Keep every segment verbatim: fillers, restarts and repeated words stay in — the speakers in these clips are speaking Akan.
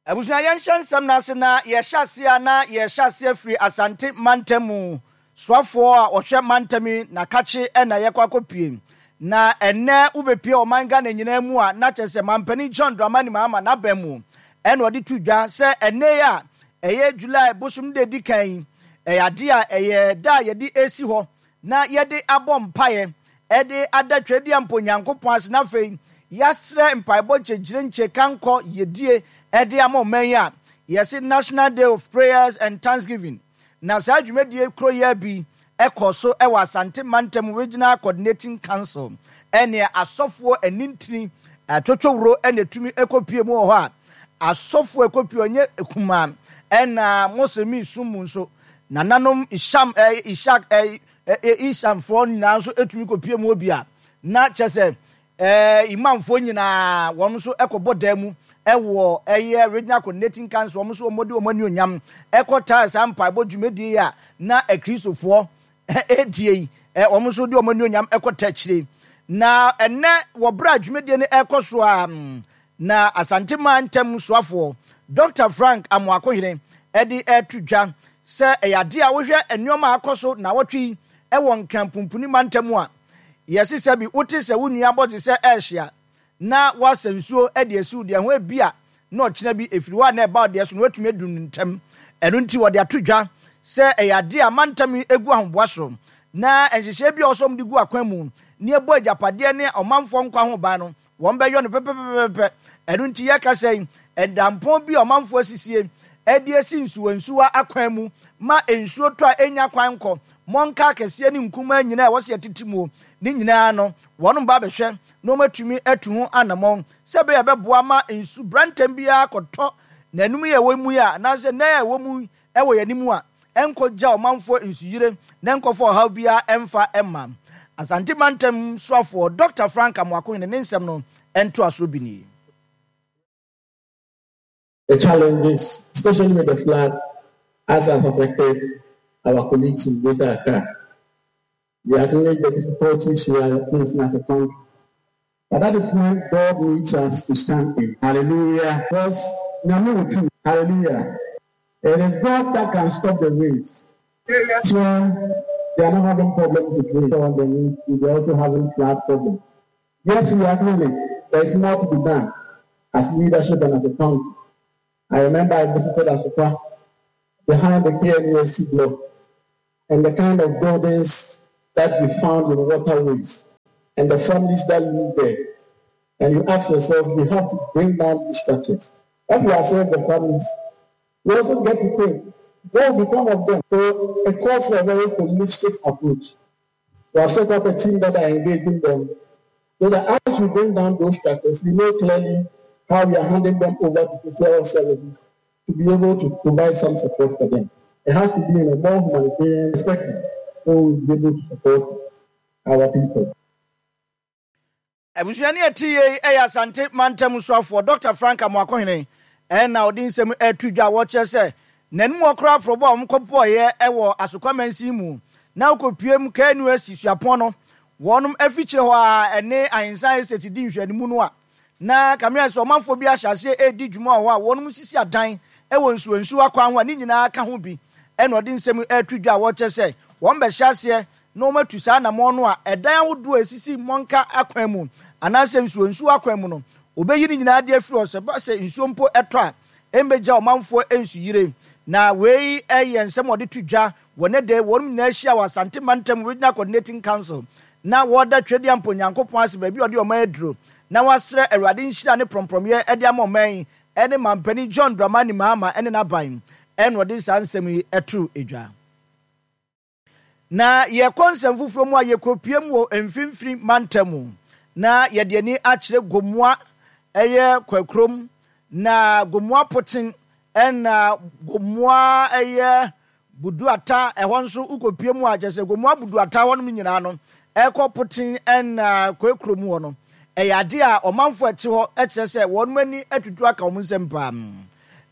Abusua, yɛnhyɛ nsɛm no ase na yɛhyɛ aseɛ a na yɛhyɛ aseɛ firi Asante mantam mu. Soafoɔ a ɔhwɛ mantam yi na kakye na yɛkɔ akɔpie. Na ɛnnɛ wobɛpie ɔman Ghana nyinaa mu a, na kyerɛ sɛ Mampanin John Dramani Mahama n'aban mu ɛna ɔde to dwa sɛ ɛnnɛ yi a ɛyɛ July bosom da edi kan yi, ɛyɛ adeɛ a ɛyɛ da a yɛde esi hɔ na yɛde abɔ mpaeɛ ɛde ada Twɛdeɛ mpo Nyankopɔn ase, na afei yɛasrɛ mpaebɔ nkyɛnkyerɛnkyɛ kankɔ yɛdie ɛde ama ɔman yi a yɛse National Day of Prayers and Thanksgiving. Na saa dwumadie kuro yɛ bi ɛkɔ so ɛwɔ Asante Mantam Regional Coordinating Council, ɛne asɔfoɔ anintini atwotwowuro ɛna etumi ɛkɔpie mu wɔ hɔ a asɔfoɔ ɛkɔpie ɔnyɛ kumaa, ɛna Mosemi sum mu nso nananom Isham ɛɛ Ishak ɛɛ Ishamfoɔ nyinaa nso etumi kɔpie mu wɔ bi a na kyɛ sɛ ɛɛ imamfoɔ nyinaa wɔn nso ɛkɔbɔ dan mu ɛwɔ ɛyɛ Regional Coordinating Council. Wɔn nso wɔn de wɔn ani onyam ɛkɔ taa saa mpaebɔ dwumadie yi a na akristofoɔ ɛredie yi, ɛ wɔn nso de wɔn ani onyam ɛkɔ taa akyire. Na ɛnɛ wɔ berɛ a dwumadie no ɛrekɔ so a, na Asante Mantam soafoɔ Doctor Frank Amoakohene ɛde ɛreto dwa sɛ ɛyɛ adeɛ a wohwɛ nneɛma a akɔ so na wɔtwe yi ɛwɔ Nkran Pumpuni mantam a, yɛsi sɛ bi wote sɛ wo nua bɔgye sɛ ɛrehyia na wasa nsuo de asiw deɛ ho, ebi a na ɔkyena bi efiri hɔ a na ɛba ɔdeɛ so na watumi adu ne ntɛm. Ɛno nti wɔde ato dwa sɛ ɛyɛ adeɛ a mantam yi egu ahoboa so na nhyehyɛe bi a ɔsɔm de gu akwan mu ne ɛbɔ agyapadeɛ ne ɔmanfoɔ nkwa ho ban no, wɔn bɛyɔ no pɛpɛpɛpɛ. Ɛno nti yɛka sɛ ɛdampɔn bi a ɔmanfoɔ asisie ɛde asi nsuwansuwa akwan mu ma nsuo tɔ a ɛnya kwan kɔ mmɔnka akɛseɛ ne nkumaa nyinaa a ɛwɔ sɛ yɛtete mu ne nyinaa no, wɔn ba bɛhwɛ na wɔatumi atu ho anammɔn sɛ ɛbɛyɛ bɛboa ma nsu brantam biara kɔtɔ n'anum yɛ ɛwɔ mu yi a, anaasɛ nan a ɛwɔ mu ɛwɔ yɛn anim a, ɛnkɔgya ɔmanfoɔ nsuyire na ɛnkɔfa ɔhaw biara ɛmfa ɛma. Asante Mantam soafoɔ Doctor Frank Amoakohene ne nsɛm no ɛntoasoɔ bi nie. The challenges, especially with the flood, as has affected our colleagues in Greater Accra. We acknowledge the difficulties we are facing as a country. But that is when God needs us to stand in. Hallelujah. Because two. Hallelujah. It is God that can stop the rains. So they are not having problems with rain. They are also having flood problems. Yes, we acknowledge there is more to be done as leadership and as a country. I remember I visited Asokwa behind the K N U S T block and the kind of buildings that we found in waterways and the families that live there. And you ask yourself, we have to bring down these structures. If we assess the families, we also get to think, what will become of them? So it calls for a very holistic approach. We have set up a team that are engaging them so that as we bring down those structures, we know clearly how we are handing them over to social services to be able to provide some support for them. It has to be in a more humanitarian perspective so we'll be able to support our people. Abusua ne ɛte yei ɛyɛ Asante Mantam soafoɔ Doctor Frank Amoakohene ɛna ɔde nsɛm ɛto dwa a wɔkyerɛ sɛ n'anim ɔkora aporɔbɔ a wɔkɔbɔɔyɛ ɛwɔ Asokwa mansin mu na wokɔpue mu K N U S T suapɔn no wɔnom afikyire hɔ a ɛne Ahensan Estate di nhwɛanimu no a, na kamea sɛ ɔmanfoɔ bi ahyɛ aseɛ ɛredi dwuma wɔ hɔ a wɔnom sisi adan ɛwɔ nsuwansuwa kwan ho a ne nyinaa ka ho bi, ɛna ɔde nsɛm ɛto dwa a wɔkyerɛ sɛ wɔn bɛhyɛ aseɛ na wɔn atu saa anammɔn no a ɛdan ahodoɔ a esisi mmɔnka akwan mu anaasɛ nsuonsuo akwan mu no, wɔbɛyi ne nyinaa de afiri hɔ sɛ ba sɛ nsuo mpo ɛtɔ a, ɛmbɛgya ɔmanfoɔ nsuyire. Na wei ɛyɛ nsɛm a wɔde to dwa wɔ ne de wɔn nyinaa ahyia wɔ Asante Mantam Regional Coordinating Council na wɔda Twedeɛ mpo Nyankopɔn ase baabi a ɔde ɔman aduro na wɔasrɛ Awurade nhyira ne prɔmprɔmyɛ ɛde ama ɔman yi ɛne Mampanin John Dramani Mahama ɛne n'aban, ɛna ɔde saa nsɛm yi ɛto edwa. Na yɛkɔ nsɛm foforɔ mu a, yɛkɔpie mu wɔ Mfimfini mantam mu na yɛde ani akyerɛ Gomoa ɛyɛ Kwakurom na Gomoa Poten ɛna Gomoa ɛyɛ Buduata. Ɛhɔ nso wokɔpie mu a, kyerɛ sɛ Gomoa Buduata hɔnom nyinaa no ɛkɔ Poten ɛna Kwakurom hɔ no, ɛyɛ adeɛ a ɔmanfoɔ ɛte hɔ ɛkyerɛ sɛ wɔn ani atutu aka wɔn nsɛm paa.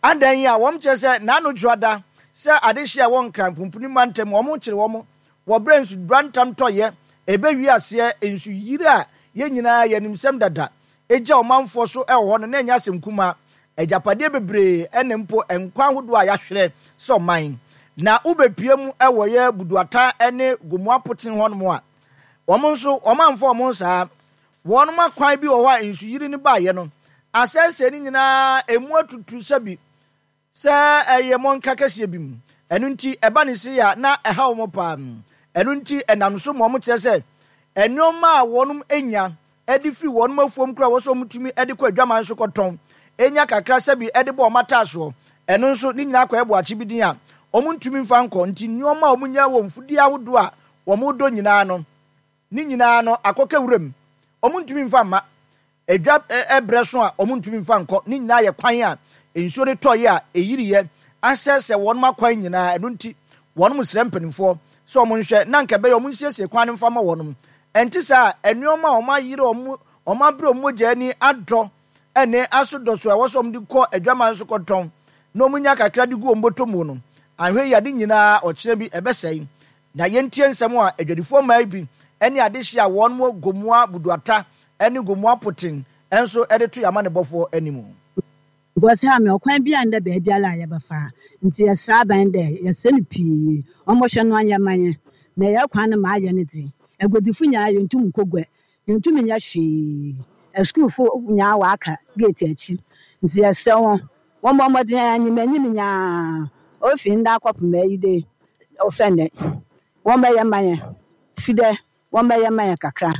Adan yi a wɔn kyerɛ sɛ n'ano dwoada sɛ adehye a ɛwɔ Nkran Pumpuni mantam, wɔn kyerɛ wɔn wɔ berɛ nsubrantam tɔyɛ ɛbɛwie aseɛ nsuyiri a yɛn nyinaa yɛnim sɛm dada ɛgya ɔmanfoɔ so ɛwɔ hɔ no, na ɛnyɛ asɛm kumaa. Agyapadeɛ bebree ne mpo nkwa ahodoɔ a yɛahwerɛ sɛ ɔman. Na wobɛpue mu wɔ yɛ Buduata ne Gomoa Poten hɔnom a, wɔn nso wɔamfa wɔn ho saa. Wɔnom akwan bi wɔ hɔ a nsuyiri no baeɛ no, asɛesɛe no nyinaa, ɛmu atutu sɛbi sɛ ɛyɛ mmɔnka kɛseɛ bi mu. Ɛno nti ɛba no sei a na ɛha wɔn paa. Ɛno nti ɛnam so ma wɔkyerɛ sɛ nnoɔma a wɔnom nya de firi wɔnom afuom koraa a ɛwɔ sɛ wɔtumi de kɔ adwaman so kɔtɔn nya kakra sɛbi de bɔ wɔn ataasoɔ. Ɛno nso ne nyinaa kɔyɛ boakye bi din a wɔntumi mfa nkɔ. Nti nnoɔma a wɔnya wɔ mfudeɛ ahodoɔ a wɔdɔ nyinaa no, ne nyinaa no akɔka wuram. Wɔntumi mfa mma. Edwa berɛ so a wɔntumi mfa nkɔ. Ne nyinaa yɛ kwan a nsuo no tɔeɛ a ɛyiriiɛ asɛesɛe wɔnom akwan nyinaa. Ɛno nti wɔnom srɛ mpanimfoɔ sɛ wɔn nhwɛ na anka ɛbɛyɛ wɔn nsiesie kwan no mfa mma wɔnom. Ɛnte saa a, nnoɔma a wɔn ayere wɔn, wɔn abrɛ wɔn mogya ani adɔ ne asodɔ so a ɛwɔ sɛ wɔde kɔ adwaman so kɔtɔn na wɔnya kakra de gu wɔn bɔtɔ mu no, anhwɛ yie a ne nyinaa ɔkyena bi ɛbɛsɛe. Na yɛntie nsɛm a adwadifoɔ mmaa yi bi ne adehyeɛ a wɔn wɔ Gomoa Buduata ne Gomoa Poten nso de to yɛn amanebɔfoɔ anim. Because ha me ɔkwan biara nndɛ beebiara a yɛbɛfa, ntsi yɛserɛ aban dɛ yɛserɛ no pii ɔmbɔhwɛ no ɔnyɛ mma hɛn, na hɛn kwan no ma ayɛ no dze, eguadzifo nyinaa yenntum nnkɔ gua, yenntum nnyɛ hwee, asukuufo nyinaa wɔaka gate ekyir, ntsi yɛserɛ hɔn wɔmbɔ mbɔdzen enyim enyim nyinaa ofi ndɛ akɔpem eyi de ɔfɛn dɛ wɔmbɛyɛ mma hɛn, fi dɛ wɔmbɛyɛ mma hɛn kakra,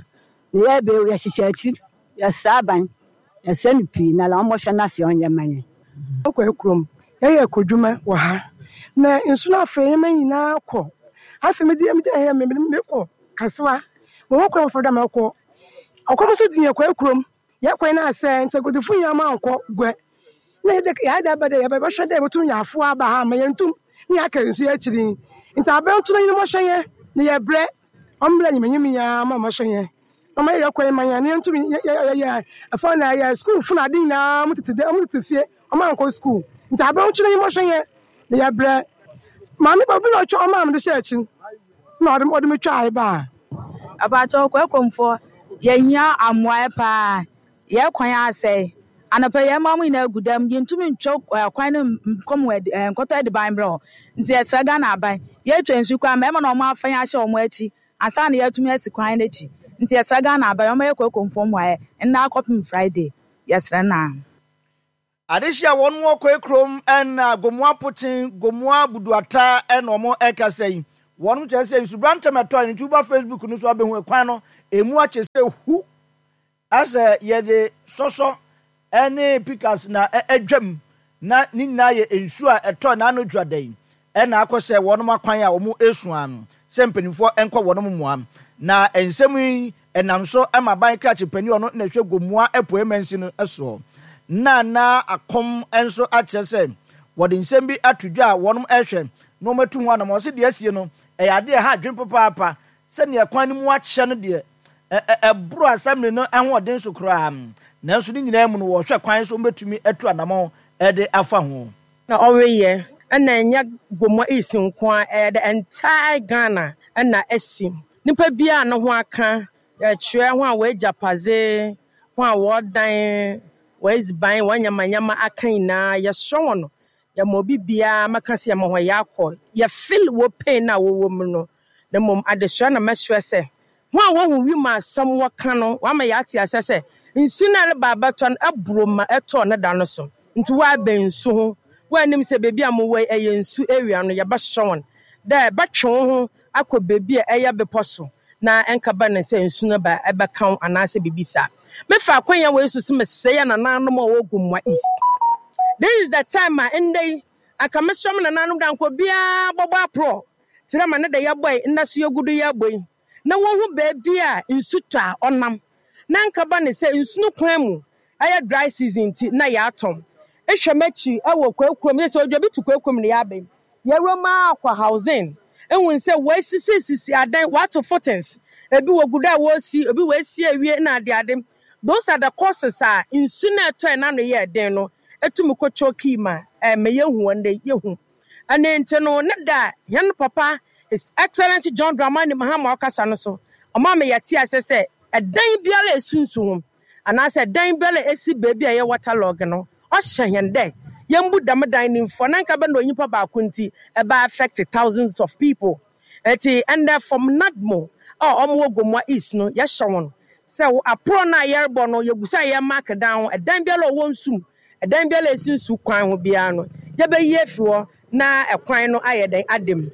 na yɛreba yi yɛhyehyɛ ekyir, yɛserɛ aban, yɛserɛ no pii na la ɔmbɔhwɛ na afei ɔnyɛ mma hɛn. Ɔkɔ kurom, yɛyɛ akɔdwuma wɔ ha. Na nsu no afei nneɛma nyinaa kɔ. Afei mede mede ɛyɛ me mekɔ Kasoa. Mewɔ kwan foforɔ dɛ mɛkɔ. Ɔkɔm nso di yɛn kɔ kurom. Yɛkɔ na asɛ nti agodifo nyinaa ma nkɔ gua. Na yɛde yɛade aba dɛ yɛbɛhwɛ dɛ yɛbɛtum yɛ afoa aba ha ma yɛntum ne yɛaka nsu akyiri. Nti abɛnto no nyina mɔhwɛ yɛn na yɛbrɛ. Ɔmbrɛ nyimanyim nyinaa ma mɔhwɛ yɛn. Ɔma yɛyɛ kwan ma yɛn na yɛntum yɛ yɛ ɛfɔ na yɛ sukuu fo na ade nyinaa ɔmo tete dɛ ɔmo tete fie ɔmo ankɔ sukuu. Nti abɛnto no nyina mɔhwɛ yɛn na yɛbrɛ. Maame ba bi na ɔtwa ɔmaa me de hyɛ akyi na ɔde ɔde me twaa baa. Apakyɛw Kwakuomfoɔ, yɛhia mmoaeɛ paa. Yɛn kwan asɛe. Anɔpa yi, yɛn mma mo nyinaa gu dam. Yɛntumi ntwa kwan no nkɔ mu nkɔtɔ adiban mbrɛ hɔ. Nti yɛsrɛ Ghana aban. Yɛtwa nsu koraa, mmarima na wɔn afa yɛn ahyɛ wɔn akyi ansa na yɛatumi asi kwan no akyi. Nti yɛsrɛ Ghana aban, wɔmmɛyɛ Kwakuomfoɔ mmoaeɛ nnɛ akɔpem Friday. Yɛsrɛ naa. Adehye a wɔn wɔ Kwakurom na Gomoa Poten, Gomoa Buduata na wɔn rekasa yi. Wɔn kyerɛ sɛ nsubrantam ɛtɔe no nti woba Facebook no so abɛhu kwan no emu akyɛ sɛ hu asɛ yɛde sɔsɔ ne pikas na adwam na ne nyinaa yɛ nsuo a ɛtɔ n'ano dwa da yi ɛna akɔ sɛ wɔn akwan a wɔn esua no sɛ mpanimfoɔ nkɔ wɔn mmoa. Na nsɛm yi ɛnam so ma aban krakye panin ɔno na ɛhwɛ Gomoa Apuei Mansin no soɔ na na akɔm nso akyerɛ sɛ wɔde nsɛm bi ato dwa a wɔn ɛhwɛ na wɔn atu ho anam. Wɔsi deɛ asie no ɛyɛ adeɛ ɛha adwene papaapa sɛnea kwan no mu akyɛ no deɛ ɛboro assembly no ahoɔden so koraa, nanso ne nyinaa mu no wɔhwɛ kwan so wɔbɛtumi atu anamɔn ɛde afa ho. Na ɔreyɛ ɛna ɛnyɛ Gomoa East nko a, ɛyɛ the entire Ghana ɛna asi. Nipa biara ne ho aka yɛkyerɛ ho a wɔagyapadze ho a wɔdan wɔadziban wɔn nyamanyama aka nyinaa, yɛsrɛ wɔn no, yɛma obi biara mɛka sɛ yɛma hɔn yɛakɔ yɛfeel wɔ pain na wɔwɔ mu no. Na mmom adesua na mɛsrɛ sɛ ho a wɔhu wi mu asɛm wɔka no wama yɛate asɛ sɛ nsu no ɛreba abɛtɔ no ɛboro ma ɛtɔɔ ne da no so, nti wɔabɛn nsu ho wɔanim sɛ beebi a mowɔ yi ɛyɛ nsu area no, yɛbɛhyɛ wɔn dɛ bɛtwe wo ho akɔ beebi a ɛyɛ bepɔ so na ɛnkaba ne sɛ nsu no ba ɛbɛka wo anaasɛ biribi saa. Mefa akwanya wɔ yi so mesrɛ yɛ nananom a wɔwɔ Gomoa East, this is the time a ndɛ yi aka mesrɛ mo nananom da nkɔ biara bɔbɔ aporɔ kyerɛ ma ne da yɛbɔ yi nda so yɛgu do yɛbɔ yi na wɔhu beebi a nsu tɔ a ɔnam na nkaba ne sɛ nsu no kwan mu ɛyɛ dry season nti na yɛatɔn. Ehwɛ m'akyi ɛwɔ Kwakurom yɛ sɛ odwa bi to Kwakurom ne yɛabɛn yɛwura mu akɔ housing ehu sɛ wɔasisisisi adan, wɔato footings, ebi wɔ gudu a wɔresi, ebi wɔasi awie na ade ade. Those are the causes a nsu na ɛtɔ ɛna no yɛ den no etumi kɔtɔ kii ma ɛmɛ yɛhu wɔn de yɛhu ɛne. Nti no ne da yɛn papa His Excellency John Dramani Mahama ɔkasa no so ɔmaa mi yɛte ase sɛ ɛdan biara esu nsu ho anaasɛ ɛdan biara esi beebi a ɛyɛ waterlog no, Ɔhyɛ hɛn dɛ yɛmbu dɛm dan no mfua na nka bɛ na onyimpa baako nti ɛbɛ affect thousands of people. Eti ɛndɛ from NADMO a ɔmo wɔ Gomoa East no, yɛhyɛ wɔn sɛ aporɔ no a yɛrebɔ no, yɛgu sɛ yɛ mark dan ho. Ɛdan biara a ɔwɔ nsum, ɛdan biara a esi nsu kwan ho biara no, yɛbɛyi afi hɔ na ɛkwan no ayɛ dɛn adam.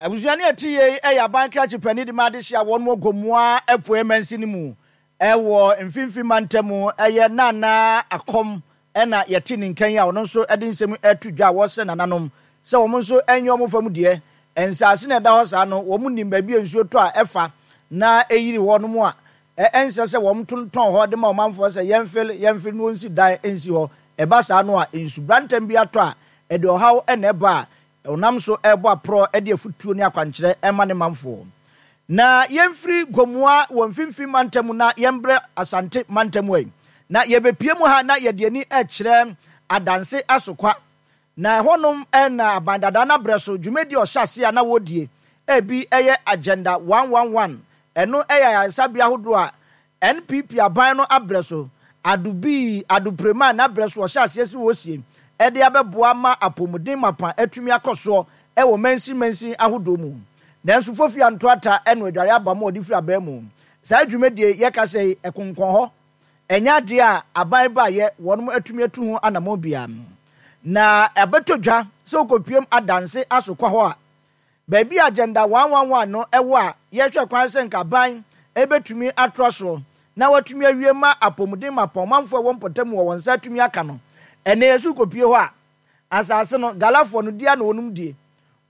Abusua ne ɛte yei ɛyɛ aban krakye panin de ma adehyɛ a wɔn wɔ Gomoa Apueɛ mansini mu ɛwɔ Mfimfini Mantam, ɛyɛ Nana Akɔm ɛna yɛte ne nkan yi a ɔno nso de nsɛm ɛto dwa a wɔsrɛ nananom sɛ wɔn nso ɛnyɛ wɔn fam deɛ. Nsaase na ɛda hɔ saa no, wɔn nim baabi a nsuo tɔ a ɛfa na ɛyiri hɔ nom a ɛnsɛ sɛ wɔn tontɔn hɔ de ma ɔmanfoɔ sɛ yɛmfil yɛmfil no wɔnsi dan nsi hɔ. Ɛba saa no a, nsubrantam bi atɔ a ɛde ɔhaw ɛna ɛba a ɔnam so ɛbɔ aporɔ de afutuo ne akwankyerɛ ɛma ne manfoɔ. Na yɛmfiri Gomoa wɔ Mfimfini Mantam na yɛmbrɛ Asante Mantam yi na yɛbɛpie mu ha na yɛde ani ɛkyerɛ Adanse Asokwa, na ɛhɔnom ɛna aban dada no abrɛ so dwumadi ɔhyɛ ase a na wɔdie ebi ɛyɛ Agenda one one one. Ɛno ɛyɛ ayaresabea ahodoɔ a N P P aban no abrɛ so adobii adoprema n'abrɛ so ɔhyɛ aseɛ si wɔsie ɛde abɛboa ma apɔmuden mapa atumi akɔ soɔ ɛwɔ mansin mansin ahodoɔ mu. Nanso fofi antoata ɛno adware aba ma ɔde firi aban mu saa dwumadie yɛka sɛ ɛkonkɔn hɔ, ɛnyɛ adeɛ a aban baayɛ wɔn atumi atu ho anammɔn bia. Na ɛbɛtɔ dwa sɛ wokɔpiem Adanse Asokwa hɔ a, baabi a Agenda one one one no ɛwɔ a yɛhwɛ kwan sɛ nka aban ɛbɛtumi atoa soɔ na watumi awie ma apɔmuden ma pɔnmanfoɔ a ɛwɔ mpɔtam wɔ wɔn nsa atumi aka no, ɛnɛ yɛso kɔpie hɔ a, asase no galafoɔ no dia na wɔnom die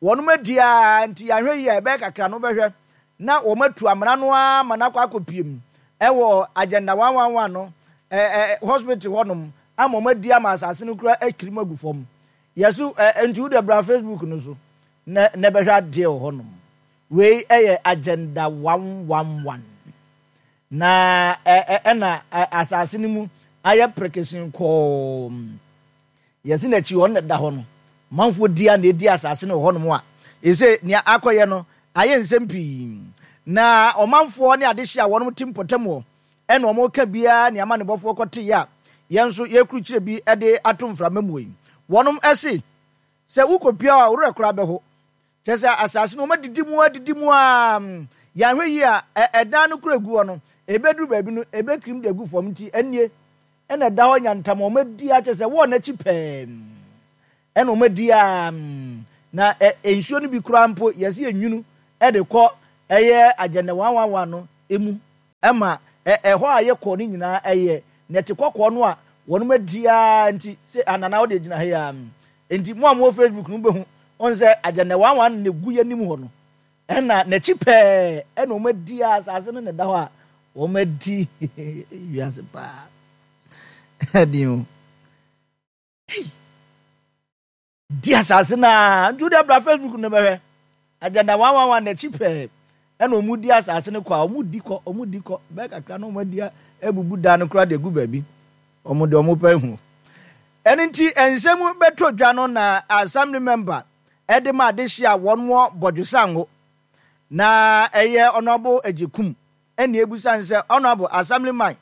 wɔnom adi a, nti yɛahwɛ yi a ɛbɛyɛ kakra no bɛhwɛ na wɔn atu amena no ara ma no akɔ akɔpie mu ɛwɔ Agenda one one one no ɛɛ ɛ hospital hɔnom ama wɔn adi ama asase no kura akiri mu agu fam. Yɛso ɛ nti wode bra Facebook no so na na bɛhwɛ adeɛ wɔ hɔnom. Wei ɛyɛ Agenda one one one na ɛ ɛ ɛna asase no mu ayɛ prekesen kɔɔ. Yɛsi n'akyi hɔ na ɛda hɔ no, manfoɔ di a na edi asase no wɔ hɔnom a ɛsɛ nea akɔyɛ no ayɛ nsɛm pii na ɔmanfoɔ ne adehye a wɔn te mpɔtam wɔ ɛna wɔn ka biara nea ama ne bɔfoɔ kɔte yɛ a yɛn nso yɛkurukyerɛ bi de ato mframa mu yi. Wɔnom ɛse sɛ wokɔpia a, worɛ koraa bɛho kyerɛ sɛ asase no wɔn adidi mu adidi mu a, yɛahwɛ yi a ɛdan no kura gu hɔ no, ebɛduru baabi no ebɛkirim de agu fam. Nti ɛnie ɛna ɛda hɔ nyantam wɔn adi akyɛ sɛ wɔn n'akyi pɛɛ ɛna wɔn adi a, na ɛ nsuo no bi koraa mpo yɛsi enwunu ɛde kɔ ɛyɛ Agenda one one one no emu ɛma ɛ ɛhɔ a yɛkɔ no nyinaa ɛyɛ nɛte kɔkɔɔ no a wɔn adi a. Nti sɛ anana wɔde gyina ha yi a, nti mo a mo wɔ Facebook no bɛhu wɔn sɛ Agenda one one na egu yɛn anim hɔ no, ɛna n'akyi pɛɛ ɛna wɔn adi a asase no na ɛda hɔ a wɔn adi wiase paa ɛdi o di asase naa. Nti wode abra Facebook no bɛhwɛ Agenda one one one n'akyi pɛɛ ɛna wɔn di asase no kɔ a, wɔn di kɔ, wɔn di kɔ bɛɛ kakra na wɔn adi abubu dan no koraa de egu baabi wɔn de wɔn pɛ hu. Ɛno nti nsɛm bɛtɔ dwa no na assembly member ɛde ma adehye a wɔn wɔ Bɔdwesango na ɛyɛ Honourable Agyekum ɛna ebusa sɛ, "Honourable assemblyman,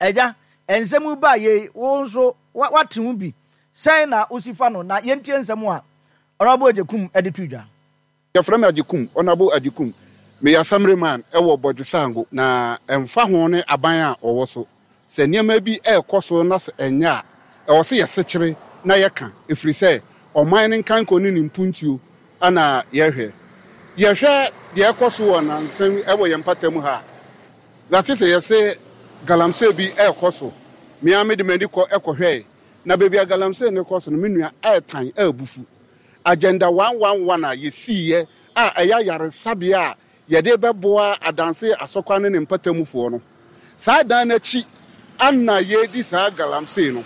ɛgya nsɛm ba yei, wo nso wate ho bi sɛn na wosi fa no?" Na yɛntie nsɛm a Honourable Agyekum ɛde to dwa. Yɛfrɛ me Agyekum, Honourable Agyekum. Meyɛ assemblyman ɛwɔ Bɔdwesango. Na ɛmfa ho ne aban a ɔwɔ so, sɛ nneɛma bi ɛrekɔ so na sɛ ɛnyɛ a, ɛwɔ sɛ yɛsekyere na yɛka, ɛfiri sɛ ɔman no nkankɔ ne ne mpuntuo ana yɛhwɛ. Yɛhwɛ deɛ ɛkɔ so wɔ nansɛm ɛwɔ yɛn mpata mu ha na te sɛ yɛse galamsey bi ɛrekɔ so. Mea mede m'ani kɔ ɛkɔhwɛe na baabi a galamsey no kɔ so no, me nua, ɛɛtan ɛɛbufu. Agenda one one one a yɛsiiɛ a ɛyɛ ayaresabea a yɛde bɛboa Adanse Asɔkwa ne ne mpatamufoɔ no, saa dan n'akyi ana yɛredi saa galamsey no.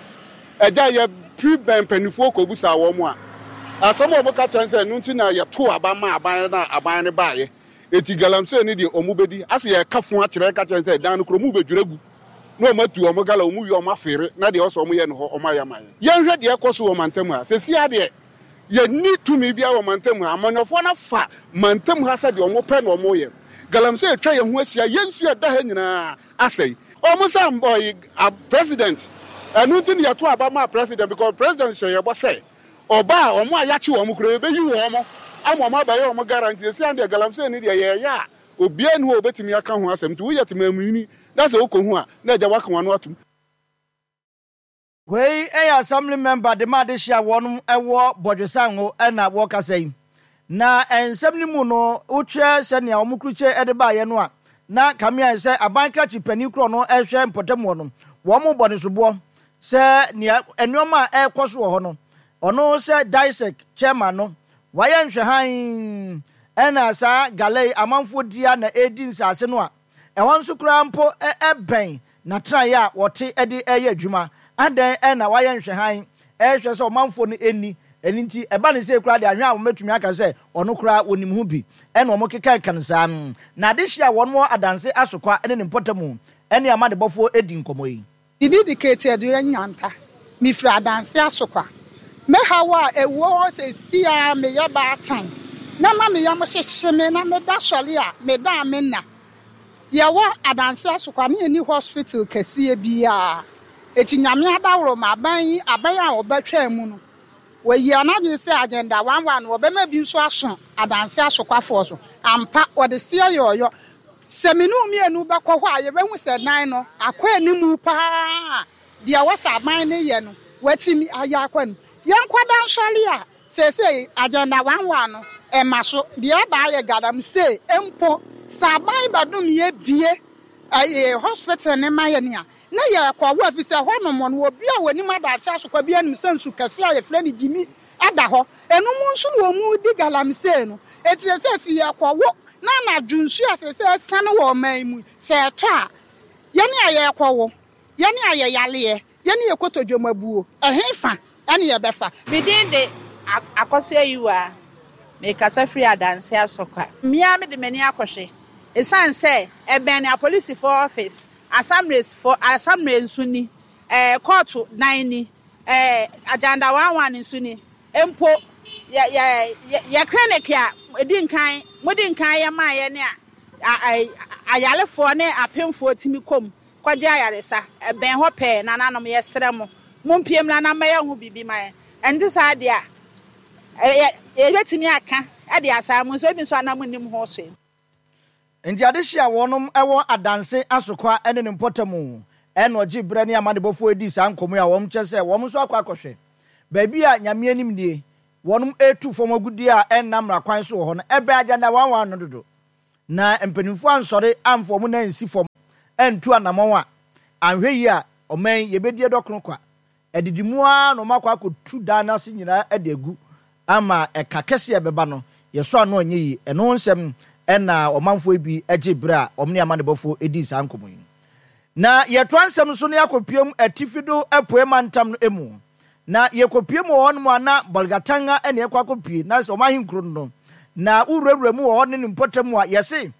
Ɛgya yɛpiri bɛn mpanimfoɔ kɔbusaa wɔn a, asɛm a wɔka kyerɛ sɛ ɛno nti na yɛto aba ma aban no a aban no baeɛ. Eti galamsey no deɛ, wɔn bɛdi ase. Yɛka fo akyerɛ ka kyerɛ sɛ dan no kuro mu bɛdwira gu na wɔn atu wɔn gala, wɔn wie wɔn afeere na deɛ ɔsɛ wɔn yɛ no hɔ wɔn ayɛ ama yɛn. Yɛnhwɛ deɛ ɛkɔ so wɔ mantam ha sɛsi adeɛ, yɛnni tumi biara wɔ mantam ha. Amanyɔfoɔ no afa mantam ha sɛ deɛ wɔn pɛ na wɔn yɛ. Galamsey atwa yɛn ho ahyia, yɛn nsuo ɛda ha nyinaa asɛe. Wɔn sɛ ɔyi president Ɛno nti na yɛto aba maa president, because president hyɛ yɛbɔ sɛ ɔba a, ɔmo a yɛakye wɔn koraa, yɛbɛyi wɔn ama ɔmo abɛyɛ ɔmo guarantee. Esi an deɛ, galamsey ni deɛ yɛyɛ a, obiara ni hɔ a obetumi aka ho asɛm. Nti woyɛ temaamuni na sɛ wokɔ hu a, na agya waka wɔn ano atom. Wei yɛ assembly member de ma adehye a wɔn wɔ Bɔdwesango na wɔkasa yi. Na nsɛm no mu no, wohwɛ sɛnea wɔn krukye de baeɛ no a, na kame ayɛ sɛ aban krakye panin korɔ no rehwɛ mpɔtam hɔ no, wɔrebɔ no soboɔ sɛ nea nneɛma a ɛrekɔ so wɔ hɔ no, ɔno sɛ DISEC chairman no, wayɛ nhwɛhan ɛna saa gala yi amanfoɔ di a na ɛredi nsaase no a, ɛhɔ nso koraa mpo ɛbɛn n'atenaeɛ a wɔte de reyɛ adwuma. Adɛn na wayɛ nhwɛhan rehwɛ sɛ ɔmanfoɔ no nni? Ɛno nti, ɛba no sei koraa deɛ, ahwɛ a wɔbɛtumi aka sɛ ɔno koraa wɔnim ho bi. Ɛna wɔkekaka no saa. Na adehyeɛ a wɔn wɔ Adanse Asokwa ne ne mpɔtamu ne amanebɔfoɔ di nkɔmmɔ yi. Me din de Katie Aduoya Nyanta. Mefiri Adanse Asokwa. Me haw a ɛwɔ hɔ seesei ara, meyɛ baatan na ma me yam hyehye me na meda sɔre a, meda a menna. Yɛwɔ Adanse Asokwa na yɛnni hospital kɛseɛ biara. Enti Nyame adaworo ma aban yi, aban a ɔbɛtwaa mu no, wayi anadwene sɛ Agenda one one no wɔbɛma bi nso aso Adanse Asokwafoɔ so. Ampa, wɔde seɛ yɛ ɔyɔ. Sɛ me ne wo mmienu bɛkɔ hɔ a, yɛbɛhu sɛ dan no akɔ anim pa ara. Deɛ ɛwɔ sɛ aban no yɛ no, wɔatumi ayɛ akɔ anim. Yɛnkɔda nsɔre a, seesei Agenda one one no, ɛmma so. Deɛ ɛba ayɛ galamsey mpo. Sɛ aban bɛdom yɛn bue ɛyɛ hospital no ma yɛn a, na yɛrekɔwo, ɛfiri sɛ ɛhɔnom no, obi a ɔnim Adanse Asokwa biara nim sɛ nsu kɛseɛ a yɛfrɛ no Gyimi da hɔ. Ɛno mu nso na wɔredi galamsey no. Enti seesei sɛ yɛrekɔwo na anadwo nsuo a seesei asiane wɔ ɔman yi mu yi, sɛ ɛtɔ a, yɛn a yɛrekɔwo, yɛn a yɛyareɛ, yɛn a yɛkɔtɔ dwam abuo, ɛhefa ne yɛbɛfa? Me din de Akosua Ayiwaa. Mekasa firi Adanse Asokwa. Me ara mede m'ani akɔhwɛ. Esiane sɛ ɛbɛn apolisifoɔ office, asamresfoɔ, asamre nso ni, ɛɛ kɔɔto dan ni, ɛɛ Agenda one one nso ni. Mpo yɛ yɛ yɛ clinic a edi nkan mode nkan yɛ maa yɛn a ayarefoɔ ne apemfoɔ tumi kɔ mu kɔgye ayaresa. Ɛbɛn hɔ pɛɛ. Nananom, yɛsrɛ mo, mompue mmra na mmɛyɛ ho biribi ma yɛn. Ɛnte saa deɛ a, yɛbɛtumi aka de asaa mo nso, ebi nso a na monnim ho hwee. Enti adehye a wɔnom wɔ Adanse Asokwa ne ne mpɔtamu na ɔgye berɛ ne amanebɔfoɔ redi saa nkɔmmɔ yi a wɔn kyerɛ sɛ wɔn nso akɔ akɔhwɛ baabi a Nyame anim nie wɔnom retu fam agudeɛ a ɛnna mmara kwan so wɔ hɔ no, ɛbɛn Agenda one one no dodo na mpanimfoɔ ansɔre amfa wɔn nan ansi fam antu anamɔn a, anhwɛ yie a ɔman yi yɛbɛdi ɛdɔkono kwa. Adidi mu ara na wɔakɔ akɔtu dan no ase nyinaa de agu ama ɛka kɛse a ɛbɛba no, yɛsɔ ano anyɛ yie. Ɛno ho nsɛm na ɔmanfoɔ yi bi gyee berɛ a wɔn ne amanebɔfoɔ dii saa nkɔmmɔ yi. Na yɛtoa nsɛm so na yɛakɔpue mu Atifi do Apueɛ Mantam no mu. Na yɛkɔpue mu wɔ hɔnom a na Bolgatanga na yɛkɔ akɔpue, na sɛ wɔn ahenkuro no no. Na wowurawura mu wɔ hɔ ne ne mpɔtam a, yɛse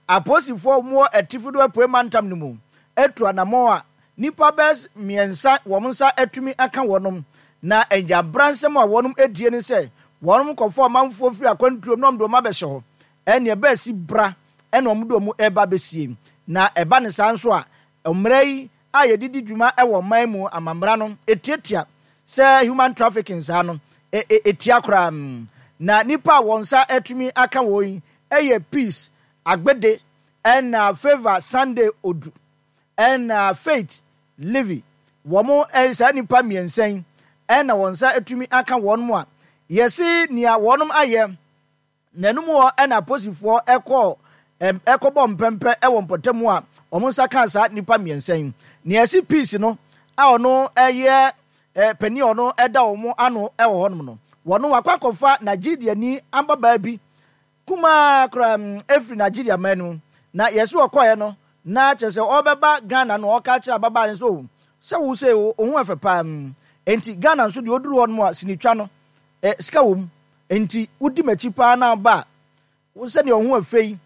apolisifoɔ a wɔwɔ Atifi do Apueɛ Mantam no mu atu anammɔn a nnipa bɛs mmiɛnsa wɔn nsa atumi aka wɔnom, na anyabransɛm a wɔnom adie ne sɛ wɔnom kɔfa ɔmanfoɔ firi akwantuom na wɔn de wɔn abɛhyɛ hɔ, ɛneɛ bɛasi bra ɛna wɔn de wɔn reba abɛsie, na ɛba no saa nso a mmara yi a yɛde di dwuma wɔ ɔman mu amammara no ɛtiatia sɛ human trafficking saa no ɛtia koraa. Na nnipa a wɔn nsa atumi aka wɔn yi yɛ Peace Agbede ɛna Favour Sunday Odu ɛna Faith Livy. Wɔn saa nnipa mmiɛnsa yi ɛna wɔn nsa atumi aka wɔn mu a yɛse nea wɔnom ayɛ. Na ɛno mu hɔ na aposifoɔ kɔɔ kɔbɔɔ mpɛmpɛ wɔ mpɔtam a wɔn nsa kaa saa nnipa mmiɛnsa yi. Nea ɛsi Peace no a ɔno yɛ panin a ɔno da wɔn ano wɔ hɔnom no, wɔno wakɔ akɔfa Nigeriani ababaa bi kumaa koraa firi Nigeria man no mu. Na yɛse ɔkɔeɛ no na kyerɛ sɛ ɔrebɛba Ghana no ɔreka akyerɛ ababaa no sɛ oh sɛ wo sei wo ho ɛfɛ paa enti Ghana nso deɛ ɔduru hɔnom a sinitwa no sika wɔ mu. Enti wodi m'akyi paa na woba a, wo sɛdeɛ wo ho ɛfɛ yi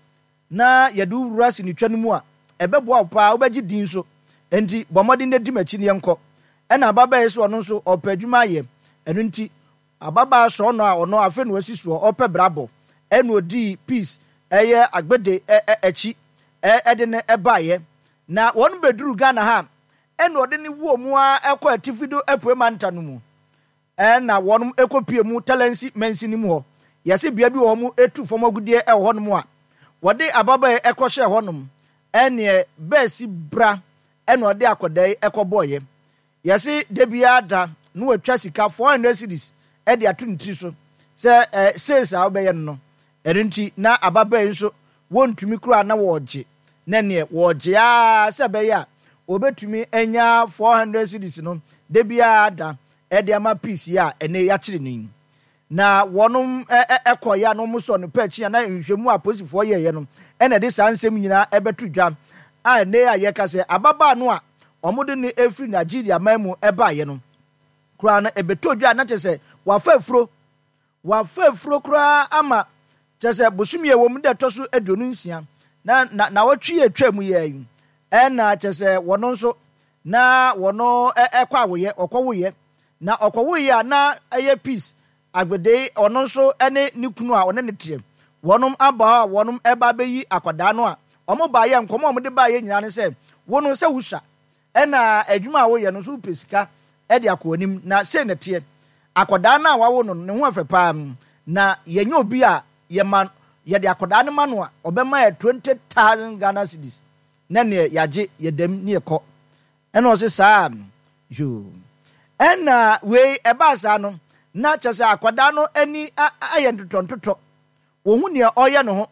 na yɛde wo wura sinitwa no mu a, ɛbɛboa wo paa, wobɛgye din nso. Enti bɔ mmɔden na di m'akyi na yɛnkɔ. Ɛnna ababaa yi se ɔno nso ɔrepɛ adwuma ayɛ. Ɛno nti, ababaa sɔɔnɔ a ɔno afei na wasi soɔ, ɔrepɛ bra bɔ, ɛnna ɔdii Peace ɛyɛ Agbede akyi de no baeɛ. Na wɔn bɛduruu Ghana ha a, Ɛna ɔde no wɔ mu ara kɔ atifi do apuei mantam no mu. Ɛna wɔnom kɔpue mu Talensi mansini mu hɔ. Yɛse bea bi wɔ hɔ wɔn tu fam agudeɛ wɔ hɔnom a, wɔde ababaa yi kɔhyɛɛ hɔnom. Ɛneɛ bɛɛsi bra ɛna ɔde akwadaa yi kɔbɔeɛ. Yɛse da biara da na watwa sika four hundred cedis de ato ne tiri so sɛ eh, sales a wobɛyɛ no no. Ɛno nti na ababaa yi nso wɔntumi koraa na wɔregye, na neɛ wɔregye ara sɛ ɛbɛyɛ a wɔbɛtumi anya four hundred cedis no da biara da de ama Peace yi a ɛnɛ yɛakyere no yi. Na wɔnom kɔeɛ a na wɔsɔɔ no pɛ akyi a na nhwehwɛmu a apolisifoɔ yɛeɛ no na ɛde saa nsɛm nyinaa ɛbɛto dwa a ɛnɛ a yɛka sɛ ababaa no a wɔde no firi Nigeria man mu baeɛ no koraa no ɛbɛtɔ dwa a na kyerɛ sɛ wafa afuro. Wafa afuro koraa ama kyerɛ sɛ bosome a ɛwɔ mu da ɛtɔ so aduonu nsia na na naawɔtwe a ɛtwa mu yɛ yi ɛna kyerɛ sɛ wɔn nso na wɔn ɛkɔ awoyɛ ɔkɔwoyɛ na ɔkɔwoyɛ a na ɛyɛ Peace Agbede ɔno nso ne ne kunu a ɔne ne teɛ wɔnom aba hɔ a wɔnom ɛba abɛyi akwadaa no a wɔn baayɛ nkɔmɔ a wɔde baayɛ nyinaa ne sɛ wo no sɛ wosua ɛna adwuma a woyɛ no nso wopɛ sika de akɔ anim na sei na ɛteɛ. Akwadaa no a wawo no no, ne ho yɛ fɛ paa na yɛnyɛ obi a yɛma yɛde akwadaa no ma no a ɔbɛma yɛ twenty thousand Ghana cedis na neɛ yɛagye yɛdam ne yɛkɔ. Ɛna ɔse saa yoo. Ɛna wei ɛbaa saa no na kyerɛ sɛ akwadaa no ani ayɛ ntotɔntotɔ. Wɔhu nea ɔreyɛ ne ho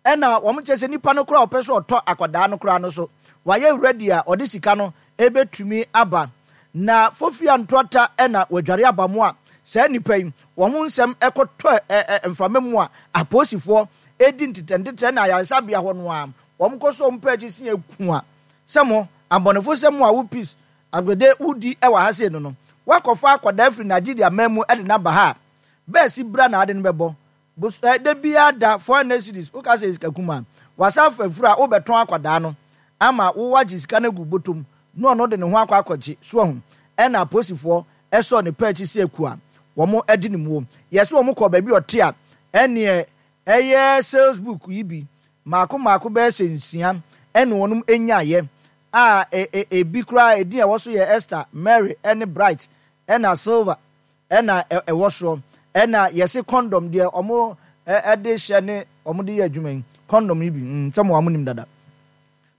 ɛna wɔn kyerɛ sɛ nipa no koraa a ɔpɛ sɛ ɔtɔ akwadaa no koraa no so wayɛ ready a ɔde sika no ɛbɛtumi aba. Na Fofia Ntoata ɛna wadware aba mo a saa nipa yi wɔn ho nsɛm ɛkɔtɔ ɛ ɛ mframa mu a apolisifoɔ ɛdi ntetɛ ntetɛ na ayaresabea hɔ no a wɔn kɔ so wɔn pɛ akyi si eku a sɛ mo abɔnefo sɛ mo a wo Peace Agbede wodi ɛwɔ ha sei no no wakɔfa akwadaa firi Nigeria man mu ɛde no aba ha a bɛɛsi bra na ade no bɛbɔ Bos eh, da biara da four hundred cedis, woka sɛ sika kumaa. Wasan afa afuru a wobɛtɔn akwadaa no ama wo woagye sika no agu bɔtɔ mu na ɔno de ne ho akɔ akɔgye. So wahu? Ɛna apolisifoɔ sɔɔ ne pɛ akyi sɛ akuo a wɔde no muo. Yɛse wɔn kɔɔ baabi a ɔte a, ɛneɛ ɛyɛ sales book yi bi mmaako mmaako bɛyɛ sɛ nsia ɛna wɔnom nyaeɛ a e, e, ebi koraa edin a ɛwɔ so yɛ Esther, Mary ɛne Bright ɛna Silver. Ɛna ɛwɔ soɔ. Ɛna yɛse kɔndɔm deɛ ɔmo de hyɛ ne ɔmo de yɛ adwuma yi kɔndɔm yi bi mm sɛ mo a mo nim dada.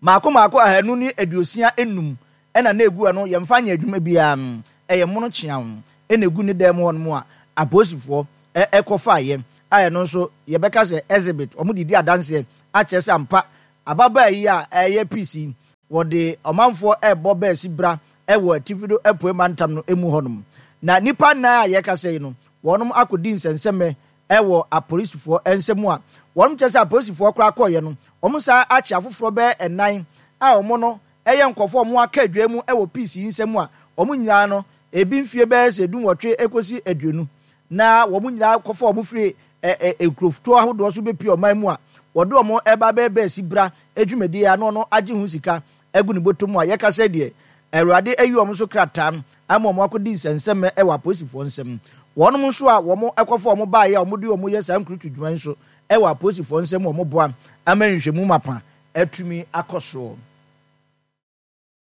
Maako maako ahanu ne aduosia nnum ɛna na egu ɛno yɛnfa nyɛ adwuma biara mm ɛyɛ mono kyeaw ɛna egu ne dan mu hɔ nom a apolisifoɔ ɛkɔ faeɛ a ɛno nso yɛbɛka sɛ exhibit ɔmo de di adanseɛ akyerɛ sɛ ampa ababaa yi a ɛyɛ peace yi Wɔde ɔmanfoɔ rebɔ bɛasi bra wɔ atifi do apuei mantam no mu hɔnom. Na nnipa nnan a yɛrekasa yi no, wɔnom akɔdi nsɛnsɛmmɛ wɔ apolisifoɔ nsa mu a wɔnom kyerɛ sɛ apolisifoɔ koraa kɔeɛ no, wɔn san akye afoforɔ bɛyɛ nnan a wɔn no yɛ nkorɔfoɔ a wɔn aka adwaa mu wɔ peace yi nsa mu a wɔn nyinaa no ebi mfie bɛyɛ sɛ dunwɔtwe kɔsi aduonu na wɔn nyinaa kɔfa wɔn firi nkurotoɔ ahodoɔ so bɛpue ɔman mu a wɔde wɔn reba abɛyɛ bɛasi bra dwumadie a na ɔno agye ho sika agu ne bɔtɔ mu a yɛka sɛ deɛ Awurade ayi wɔn so krataa ama wɔn akɔdi nsɛnsɛmmɛ wɔ apolisifoɔ nsam. Wɔnom nso a wɔn kɔfa wɔn baeɛ a wɔde wɔn yɛ saa nkurutu dwuma yi nso wɔ apolisifoɔ nsam wɔn boa ama nhwehwɛmu mapa atumi akɔ soɔ.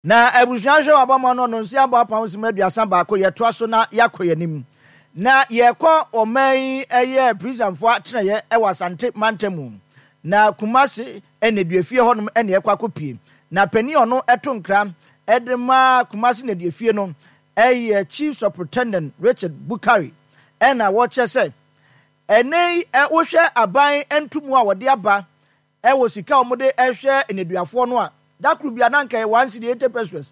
Na abusua hwɛ w'abɔmmɔ no nnɔnsia abɔ apam nsem aduasa baako yɛtoa so na yɛakɔ yɛn anim na yɛkɔ ɔman yi ɛyɛ prisonfoɔ atenaeɛ ɛwɔ Asante mantam mu na Kumasi nneduafie hɔnom ɛna yɛkɔ akɔpie na panin a ɔno ɛto nkra ɛde ma Kumasi nneduafie no ɛyɛ Chief Superintendent Richard Bukari ɛna wɔkyerɛ sɛ ɛnɛ yi wohwɛ aban ntomu a wɔde aba Wɔ sika a wɔde hwɛ nneduafoɔ no a, da koro biara na anka ɛyɛ one cedi eighty pesewas.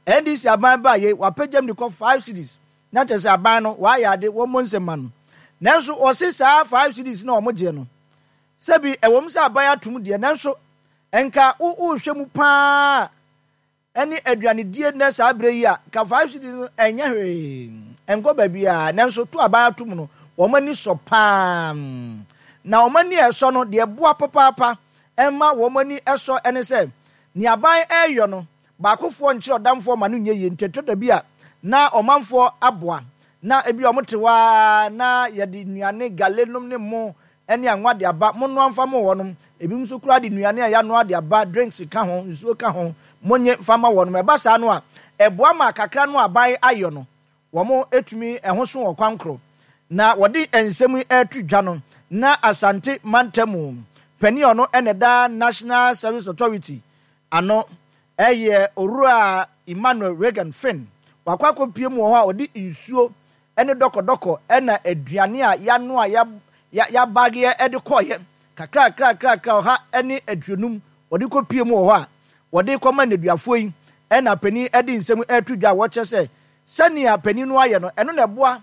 NDC aban baa yei, wɔapagyam de kɔ five cedis. Na kyerɛ sɛ aban no, wɔayɛ ade, wɔmmɔ nsam ma no. Nanso wɔse saa five cedis no a wɔgyeɛ no, sɛbi ɛwom sɛ aban atom deɛ, nanso nka wo wohwɛ mu pa ara a, ne aduanedie nnɛ saa berɛ yi a, nka five cedis no ɛnyɛ hwee, ɛnkɔ baabiara, nanso to aban ato mu no, wɔn ani sɔ pa ara. Na wɔn ani a ɛsɔ no, deɛ ɛboa papaapa ma wɔn ani sɔ ne sɛ, nea aban reyɔ no, baakofoɔ nkyerɛ ɔdamfoɔ ma no nyɛ yie, nti ɛtɔ da bi a na ɔmanfoɔ aboa, na ebia wɔte hɔ ara na yɛde nnuane, gale nom ne mo ne anwa de aba, monnoa mfa mo wɔnom, ebinom nso koraa de nnuane a yɛanoa de aba, drinks ka ho, nsuo ka ho, monnye mfa mma wɔnom. Ɛba saa no a, Ɛboa ma kakra no aban ayɔ no, wɔtumi ɛho so wɔ kwan koro. Na wɔde nsɛm yi reto dwa no, na Asante mantam panin a ɔno na ɛda National Service Authority ano yɛ Owura Emmanuel Reagan Finn. Wakɔ akɔpue mu wɔ hɔ a ɔde nsuo ne dɔkɔdɔkɔ na aduane a yɛanoa yɛabageɛ de kɔeɛ kakrakrakrakra ɔha ne aduonum wɔde kɔpue mu wɔ hɔ a wɔde rekɔma nneduafoɔ yi na panin de nsɛm reto dwa a wɔkyerɛ sɛ sɛnea panin no ayɛ no ɛno na ɛboa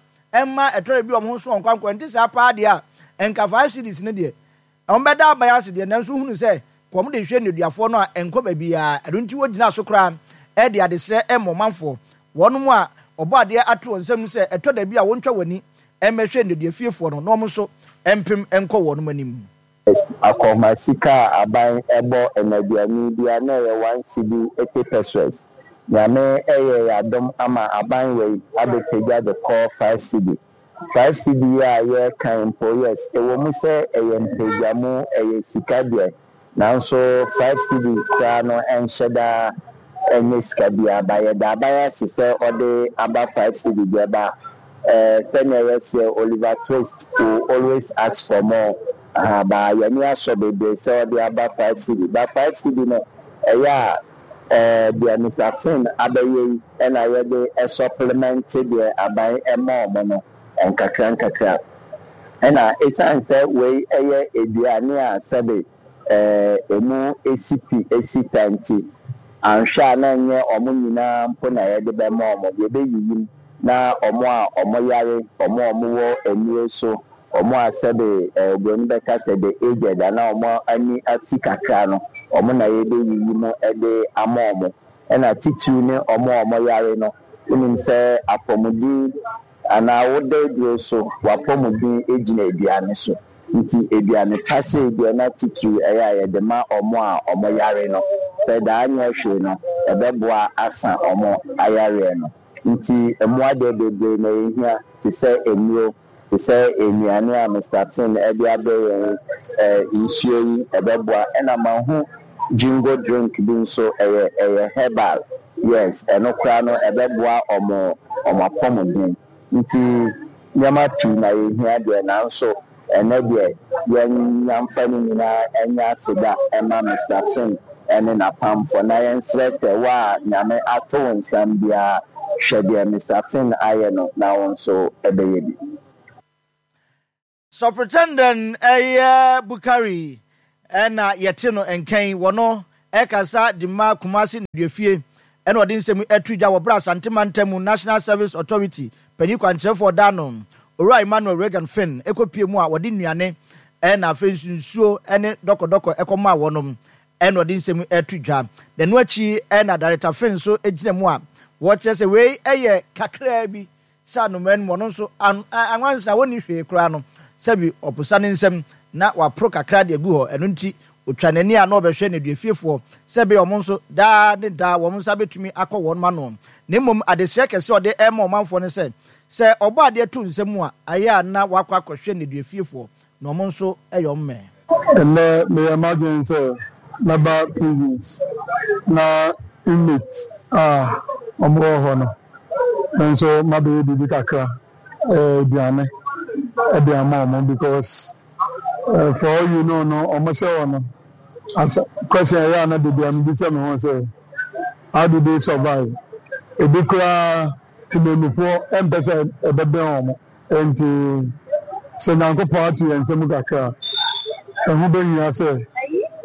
ma ɛtɔre bi wɔn ho so wɔn kwankwa nti saa paa deɛ a nka five cedis no deɛ wɔbɛda aban ase deɛ nanso wohunu sɛ kɔm de hwɛ nneduafoɔ no a ɛnkɔ baabiara ɛno nti wɔgyina so koraa de adesrɛ ma ɔmanfoɔ wɔnom a Ɔbɔadeɛ ato wɔn nsam sɛ ɛtɔ da bi a wɔntwa wɔn ani mmɛhwɛ nneduafiefoɔ no na wɔn nso mpem nkɔ wɔnom anim. Akɔnhoma sika a aban bɔ nnaduani bia na ɛyɛ one cedi eighty pesewas. Nyame yɛ yɛ adom ama aban wei abɛpagya de kɔ five cedi. Five cedi yi a yɛreka yi mpo yes ɛwɔ mu sɛ ɛyɛ mpagyamu ɛyɛ sika deɛ Nanso five cedi koraa no ɛnhyɛ da nyɛ sika biara ba yɛda aban ase sɛ ɔde aba five cedi deɛ ba eh sɛnea yɛseɛ Oliver Twist will always ask for more ahaa ba yɛani asɔ bebree sɛ ɔde aba five cedi ba five cedi no ɛyɛ a eh deɛ Mister Finn abɛyɛ yi ɛna yɛde supplement deɛ aban ɛma ɔmo no nkakra nkakra. Ɛna esiane sɛ wei yɛ aduane a sɛbe emu si pi si ta nti, anhwɛ a na ɛnyɛ wɔn nyinaa mpo na yɛde bɛma wɔn. Yɛbɛyiyim na wɔn a wɔyare, wɔn a wɔwɔ nnuro so, wɔn a sɛbe oburoni bɛka sɛ the aged anaa wɔn ani afi kakra no, wɔn na yɛbɛyiyi mu de ama wɔn. Ɛna titiriw ne wɔn a wɔyare no, wonim sɛ apɔmuden Anaa wo da aduro so, w'apɔmuden gyina aduane so. Nti aduane pa sei deɛ na titiriw ɛyɛ a yɛde ma wɔn a wɔyare no. Sɛ daa nyɛ hwee no, ɛbɛboa asa wɔn ayareɛ no. Nti mmoa deɛ bebree na ɛhia te sɛ nnuro, te sɛ nnuane a Mister Finn de abrɛ yɛn yi, ɛɛ nsuo yi ɛbɛboa. Ɛna mahu Jingo drink bi nso ɛyɛ ɛyɛ herbal yes ɛno koraa no ɛbɛboa ɔmo ɔmo apɔmuden nti nneɛma pii na yɛhia deɛ nanso ɛnɛ deɛ yɛn yɛnfa ne nyinaa nyɛ aseda mma Mister Finn ɛne n'apamfoɔ na yɛnsrɛ sɛ wo a Nyame ato wo nsam biara hwɛ deɛ Mister Finn ayɛ no na wo nso bɛyɛ bi. Superintendent yɛ Bukari na yɛte no nka yi, wɔno ɛkasa de ma Kumasi Nneduafie ɛna ɔde nsɛm yi ɛto dwa wɔ berɛ a Asante Mantam mu National Service Authority panyin kwankyerɛfoɔ ɔda ano Owura Emmanuel Reagan Finn ɛkɔpie mu a wɔde nnuane ɛna afei nso nsuo ɛne dɔkɔdɔkɔ ɛkɔmaa wɔnom ɛna ɔde nsɛm yi ɛto dwa. Na ɛno akyi ɛna Director Finn nso ɛgyina mu a wɔkyerɛ sɛ wei ɛyɛ kakraa bi Sɛ anomaa no mu, ɔno nso, an, anwansa a ɔnni hwee koraa no, sɛbi ɔposa ne nsam na waporo kakra de agu hɔ. Ɛno nti, ɔtwa n'ani a na ɔbɛhwɛ nneduafiefoɔ, sɛ ɛbɛyɛ wɔn nso, daa ne daa wɔn nsa bɛtumi akɔ wɔn ano. Na mmom adesrɛ kɛse a ɔde rema ɔmanfoɔ ne sɛ, sɛ Ɔbɔadeɛ to nsa mu a, ayɛ a na wakɔ akɔhwɛ nneduafiefoɔ, na wɔn nso yɛ wɔn mmɛ. Ɛnnɛ meyɛɛ m'adwene sɛ mɛba prisons na inmates a wɔwɔ hɔ no me nso mabɛyɛ biribi kakra, aduane de ama wɔn because for all you know no wɔhyɛ hɔ no as question ɛyɛ a na da biara mebisa me ho sɛ how do they survive? Ebi koraa temamufoɔ mpɛ sɛ ɛbɛbɛn wɔn. Enti, sɛ Nyankopɔn ato yɛn nsa mu kakra a, ɛho behia sɛ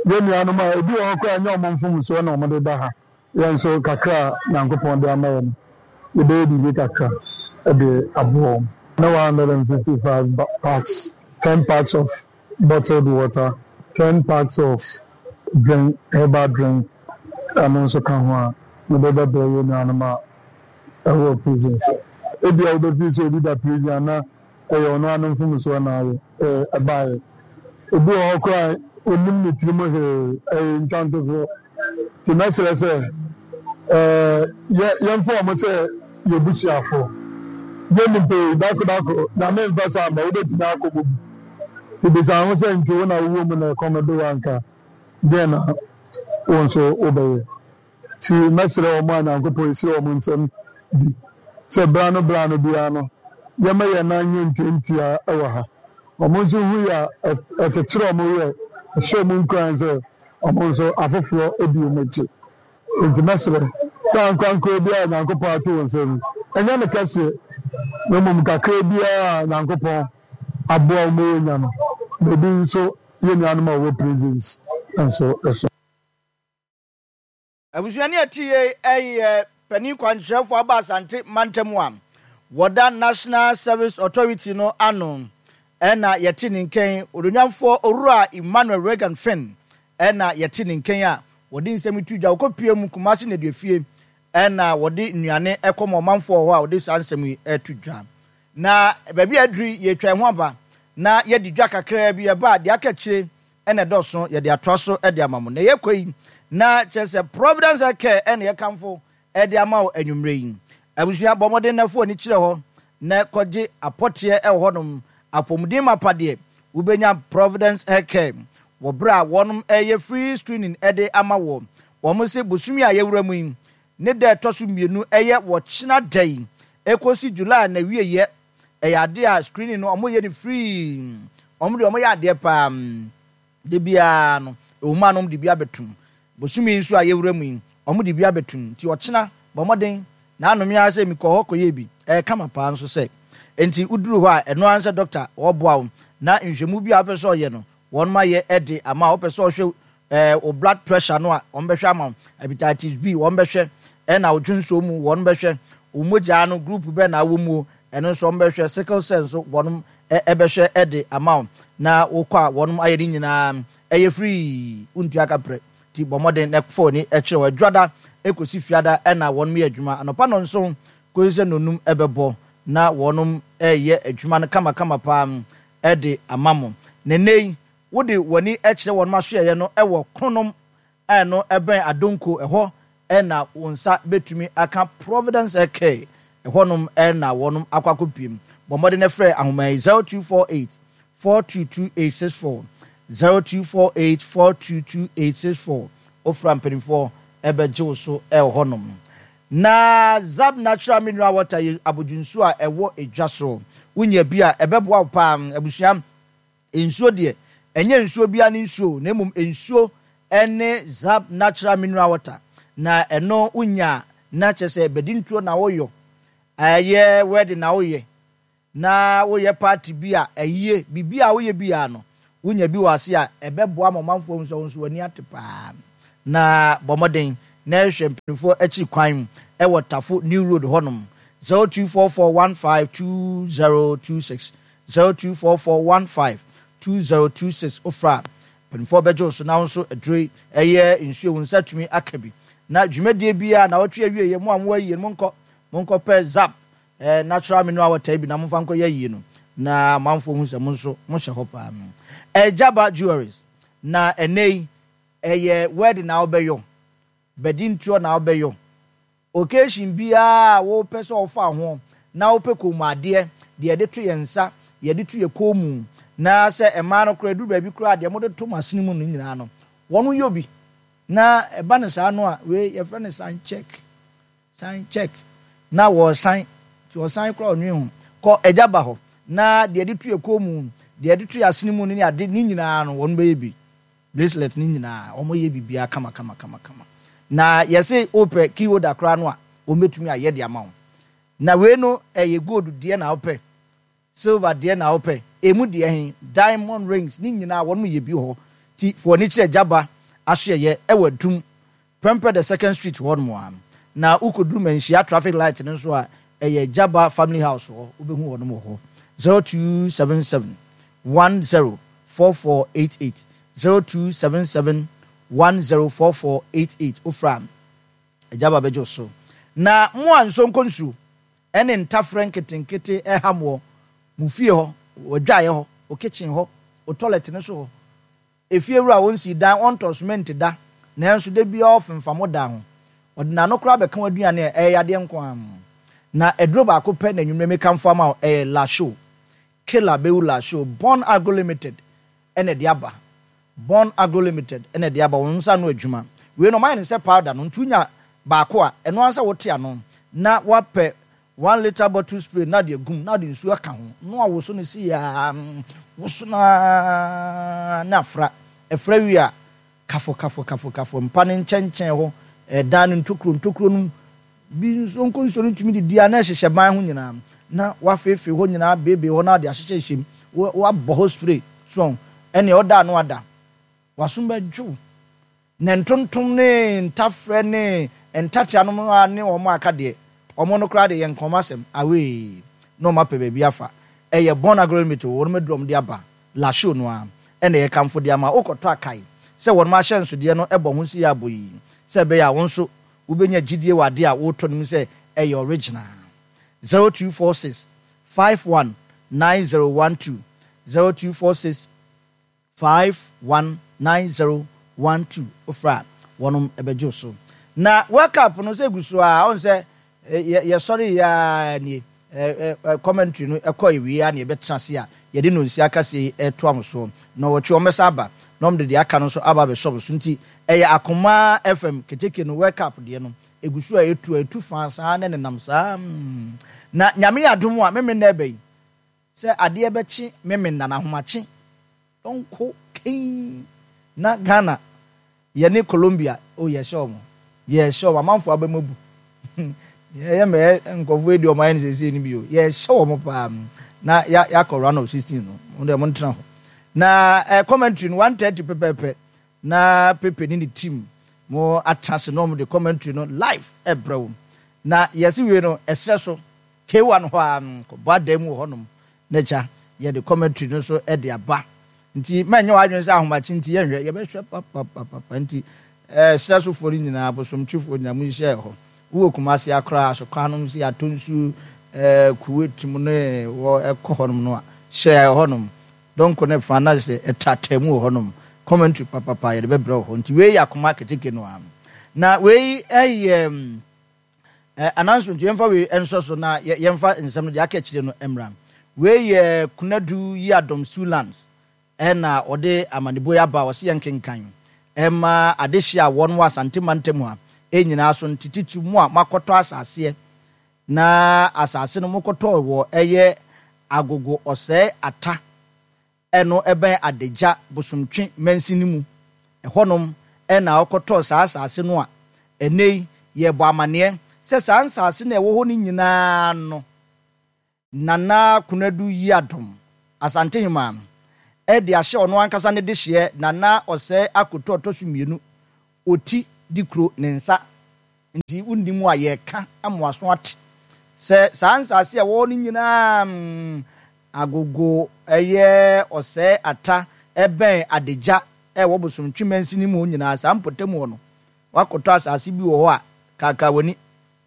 yɛn nuanom a ebi wɔ hɔ koraa a ɛnyɛ wɔn mfomsoɔ na wɔde ba ha, yɛn nso kakra a Nyankopɔn de ama yɛn no, yɛbɛyɛ biribi kakra de aboa wɔn. Ne one hundred and fifty five packs, ten packs of bottled water, ten packs of drink, herbal drink, ɛno nso ka ho a, mede bɛbrɛ yɛn nuanom a ɛwɔ prison sɛ ebia wobɛfiri sɛ obi da prison a na ɛyɛ ɔno ara ne mfomsoɔ na ayɛ ɛbaeɛ. Obi wɔ hɔ koraa a ɔnnim ne tirim hwee, ɛyɛ ntwantofoɔ. Nti mɛsrɛ sɛ yɛ yɛmfa wɔn sɛ yɛn abusuafoɔ. Yɛn nnipa yi, dako dako, Nyame mfa saa mma, wobɛtumi akɔ mu bi. Nti bisa ho sɛ nti wo na wowɔ mu na ɛkɔm de wo anka, deɛn na wo nso wobɛyɛ? Nti mɛsrɛ wɔn a Nyankopɔn ahyira wɔn nsam bi sɛ berɛ ano berɛ ano biara no yɛmma yɛn nan nyɛ ntiantia wɔ ha. Wɔn nso hu yɛ a, ɛkyekyere wɔn werɛ, ɛhyɛ wɔn nkuran sɛ wɔn nso afoforɔ di wɔn akyi. Enti mɛsrɛ sɛ ankorankoro biara a Nyankopɔn ato wo nsa mu, ɛnyɛ ne kɛseɛ, na mmom kakra biara a Nyankopɔn aboa wo ma woanya no, ma ebi nso yɛn nuanom a wɔwɔ prisons nso so. Abusuani a ɛte yei yɛ panin kwankyerɛfoɔ aba Asante mantam a wɔda National Service Authority no ano na yɛte ne nkan, Onuonyamfoɔ Owura Emmanuel Reagan Fenn na yɛte ne nkan a wɔde nsɛm yi to dwa. Wɔkɔpue mu Kumasi Nneduafie na wɔde nnuane kɔma ɔmanfoɔ wɔ hɔ a wɔde saa nsɛm yi to dwa. Na baabi a aduru yi, yɛretwa yɛn ho aba na yɛadi dwa kakraa bi, ɛba a deɛ aka akyire na ɛdɔɔso, yɛde atoa so de ama mo. Na yɛrekɔ yi, na kyerɛ sɛ Providence Health Care na yɛkamfo de ama wo anwummerɛ yi. Abusua, bɔ mmɔden na fa w'ani kyerɛ hɔ na kɔgye apɔteɛ wɔ hɔnom. Apɔmuden mapa deɛ, wobɛnya Providence Health Care wɔ berɛ a wɔnom reyɛ free screening de ama woɔ. Wɔn se bosome a yɛwura mu yi, ne da a ɛtɔ so mmienu ɛyɛ wɔkyena da yi ɛkɔsi July n'awieɛ, ɛyɛ adeɛ a screening no wɔyɛ no free. Wɔn deɛ wɔyɛ adeɛ paa. Da biara no, ɛwɔ mu a na wɔde bi abɛtom. Bosome yi nso a yɛwura mu yi, wɔde bi abɛtom. Nti ɔkyena, bɔ mmɔden na ano me ara sɛ mekɔɔ hɔ kɔyɛɛ bi. Ɛyɛ kama paa nso sɛ. Enti woduru hɔ a, ɛno ara ne sɛ dɔkta ɔreboa wo na nhwehwɛmu bi a wopɛ sɛ ɔyɛ no, wɔnom ayɛ de ama wo. Wopɛ sɛ ɔhwɛ eh, wo blood pressure no a, wɔbɛhwɛ ama wo. Hepatitis B, wɔbɛhwɛ. Ɛna wo dwonsɔ mu, wɔbɛhwɛ. Wo mogyaa no, group bɛn na wɔ mu o, ɛno nso wɔbɛhwɛ. Sickle cell nso, wɔnom bɛhwɛ de ama wo. Na wokɔ a, wɔnom ayɛ ne nyinaa. Ɛyɛ free, wontua kaprɛ. Nti bɔ mmɔden na fa w'ani kyerɛ hɔ. Adwuada kɔsi Fiada na wɔnom yɛ adwuma. Anɔpa nnɔnson kɔsi sɛ nnɔnnum bɛbɔ na wɔnom reyɛ adwuma no kamakama paa de ama mo. Na nnɛ yi, wode w'ani kyerɛ wɔnom asoɛeɛ no wɔ Kronom a ɛno ɛbɛn Adonko, ɛhɔ na wo nsa bɛtumi aka Providence Care, ɛhɔnom na wɔnom akɔ akɔpiem. Bɔ mmɔden na frɛ ahoma yi, zero two four eight four two two eight six four, zero two four eight four two two eight six four, wofrɛ a mpanimfoɔ bɛgye wo so wɔ hɔnom. Na Zab Natural Mineral Water yɛ abodwonsuo a ɛwɔ dwa so. Wonya bi a, ɛbɛboa wo paa. Abusua, nsuo deɛ, ɛnyɛ nsuo biara ne nsuo o, na mmom nsuo ne Zab Natural Mineral Water. Na ɛno wonya a, na kyerɛ sɛ badintuo na woyɔ, ɛyɛ wedding na woyɛ, na woyɛ party bi a, ayie, biribi a woyɛ biara no, wonya bi wɔ ase a, ɛbɛboa ma ɔmanfoɔ ahu sɛ wo nso w'ani ate paa. Na bɔ mmɔden na hwehwɛ mpanimfoɔ akyiri kwan wɔ Tafo New Road hɔnom, zero two four four one five two zero two six, zero two four four one five two zero two six. Wofrɛ a, mpanimfoɔ bɛgye wo so na wo nso aduro yi ɛyɛ nsuo, wo nsa atumi aka bi. Na dwumadie biara, nnawɔtwe awieeɛ, mo a mowɔ ayie no, monkɔ, monkɔpɛ Zap Eh, natural mineral water yi bi na momfa nkɔyɛ ayie no na amanfoɔ hu sɛ mo nso mohyɛ hɔ paa. Ɛgyaba Jewelries, na ɛnnɛ yi ɛyɛ wedding na wobɛyɔ, badintoɔ na wobɛyɔ, occasion biara a wopɛ sɛ wofa ho na wopɛ kɔnmuadeɛ, deɛ yɛde to yɛn nsa, yɛde to yɛn kɔn mu, na sɛ mmaa no koraa ɛduru baabi koraa a deɛ mode to mo asene mu no nyinaa no wɔn yɔ bi, na ɛba no saa no a wei yɛfrɛ no sign check. San check na wɔresan nti ɔsan koraa ɔnwen ho kɔ agya ba hɔ na deɛ yɛde to yɛ kɔn mu deɛ yɛde to yɛ asene mu no ne ade ne nyinaa no wɔn bɛyɛ bi bracelet ne nyinaa wɔn yɛ biribiara kama kama kama kama na yɛse wopɛ key holder koraa no a wɔn bɛtumi ayɛ de ama wo na wei no ɛyɛ gold deɛ na wopɛ Silver deɛ na wopɛ? Emu deɛ he? Diamond rings ne nyinaa wɔnom yɛ bi wɔ hɔ. Nti fa w'ani kyerɛ Gyaba asoɛeɛ ɛwɔ Adum, Prempeh the second street hɔ nom a. Na wokɔduru Manhyia traffic light no nso a, ɛyɛ Gyaba family house hɔ, wobɛhu wɔnom wɔ hɔ. Zero two seven seven one zero four four eight eight, zero two seven seven one zero four four eight eight, wofrɛ a Gyaba bɛgye wo so. Na mo a nsuo nkɔ nsuo ne ntafrɛ nketenkete reham wɔ mo fie hɔ, w'adwaeɛ hɔ, wo kitchen hɔ, wo toilet no so hɔ. Efiewura a ɔnsii dan, ɔntɔɔ cement da, nanso da biara ɔfemfam wo dan ho. Ɔde n'ano koraa bɛka w'aduane a, ɛyɛ yadeɛ nko ara. Na aduro baako pɛ na anwummerɛ mekamfo ama wo, ɛyɛ Lasho. Killer bɛwu Lasho. Born Agro Limited na ɛde aba. Born Agro Limited na ɛde aba, wɔn nsa ano adwuma. Wei no wɔayɛ no sɛ powder no, nti wonya baako a, ɛno ara sɛ wote ano na woapɛ one litre bottle spray na de agum na de nsuo aka ho na wawoso no sei ara, woso no ara na afra. Ɛfra wie a, kafo kafo kafo kafo mpa no nkyɛnkyɛn hɔ, ɛdan no ntokuro ntokuro no mu bi nso nko nsuo no tumi didi a na ɛhyehyɛ ban ho nyinaa na wafeefee hɔ nyinaa beebee hɔ na ɔde ahyehyɛ hyɛ mu, wabɔ hɔ spray so ɛnea ɔda ano ada. W'asom bɛdwo wo. Na ntontom ne ntafrɛ ne ntakyea nom a ne wɔn a aka deɛ, wɔn no koraa deɛ yɛnka wɔn asɛm, awee, na wɔn apɛ baabi afa. Ɛyɛ Bon Agro Limited, wɔnom aduru a wɔde aba, La Show no ara na yɛkamfo de ama wo. Wokɔtɔ a kae sɛ wɔnom ahyɛnsodeɛ no bɔ ho nsi yɛ abɔ yi, sɛ ɛbɛyɛ a wo nso wobɛnya gyidie wɔ adeɛ a woretɔ no mu sɛ ɛyɛ original. Zero two four six five one nine zero one two, zero two four six. Five one nine zero one two wofrɛ a wɔnom bɛgye wo so. Na World Cup no sɛ egu so a ɔn sɛ yɛ yɛsɔre yɛ ara nie ɛ ɛ commentary no ɛkɔ ewie a na yɛbɛtena ase a yɛde nonsia akaseɛ yi ɛtoa mo soɔ. Nnɔwɔtwe wɔn bɛsan aba na wɔn de deɛ aka no nso aba abɛsɔ mo so nti ɛyɛ Akoma F M keteke no World Cup deɛ no egu so a etu a etu faa saa na ɛnenam saa mm. Na Nyame yɛ adom a Memenna ɛba yi sɛ adeɛ bɛkye Memenna na ahomakye Yɔnko kee na Ghana yɛne Colombia oh yɛhyɛ wɔn yɛhyɛ wɔn amanfoɔ abam abu yɛyɛ mɛyɛ nkurɔfoɔ edi wɔn ayɛ no seesei no bi o yɛhyɛ wɔn paa na ya yakɔ round of sixteen no mo deɛ mo ntena hɔ na ɛ eh, commentary no one thirty pɛpɛɛpɛ na Pepe ne ne team mo atena ase na wɔn de commentary no live ɛbrɛ wɔn na yɛsi wie no ɛsrɛ so K one hɔ a kɔbɔ adan mu wɔ hɔnom na agya yɛde commentary no nso de aba nti mɛnyɛ w'adwene sɛ ahomakye nti yɛnhwɛ, yɛbɛhwɛ papapapa nti ɛɛ serɛ sofoɔ no nyinaa, bosomtwefoɔ nyinaa monhyia hɔ. Wowɔ Kumasi akora asokwa nom sɛ yɛatɔ nsuo ɛɛ Kuwait mu ne wɔ ɛkɔ hɔnom no a hyɛ hɔnom dɔnko ne fa na sɛ ɛtaataa mu wɔ hɔnom, commentary papapa yɛde bɛbrɛ wɔ hɔ nti wei yɛ akoma keteke no a na wei ɛyɛ Eh, announcement, yɛmfa wei nsɔ so na yɛmfa nsɛm no deɛ aka akyire no mmra. Wei yɛ Kunadu Yiadom Sulands ɛna ɔde amanebɔ yi aba a ɔse yɛnkenkan ɛma adehyeɛ a wɔn wɔ Asante mantam ha nyinaa so nte titiriw mo a moakɔtɔ asaseɛ na asase no mokɔtɔɔ wɔ ɛyɛ Agogo Ɔsɛe Ata Ɛno bɛn Adagya Bosomtwe mansini mu. Ɛhɔnom na ɔkɔtɔɔ saa asase no a ɛnnɛ yi yɛrebɔ amanneɛ sɛ saa nsase no a ɛwɔ hɔ no nyinaa no Nana Konadu Yiadom, Asantehemaa no, de ahyɛ ɔno ankasa ne dehyeɛ Nana Ɔsɛe Akoto Ɔtɔ So Mmienu, Oti Dikuro ne nsa. Nti wonni mu a yɛreka ama w'aso ate sɛ saa nsase a ɛwɔ hɔ no nyinaa Agogo ɛyɛ ɔsɛe ata ɛbɛn Adagya ɛwɔ Bosomtwe mansini mu hɔ nyinaa saa mpɔtam hɔ no woakɔtɔ asase bi wɔ hɔ a kaakaa w'ani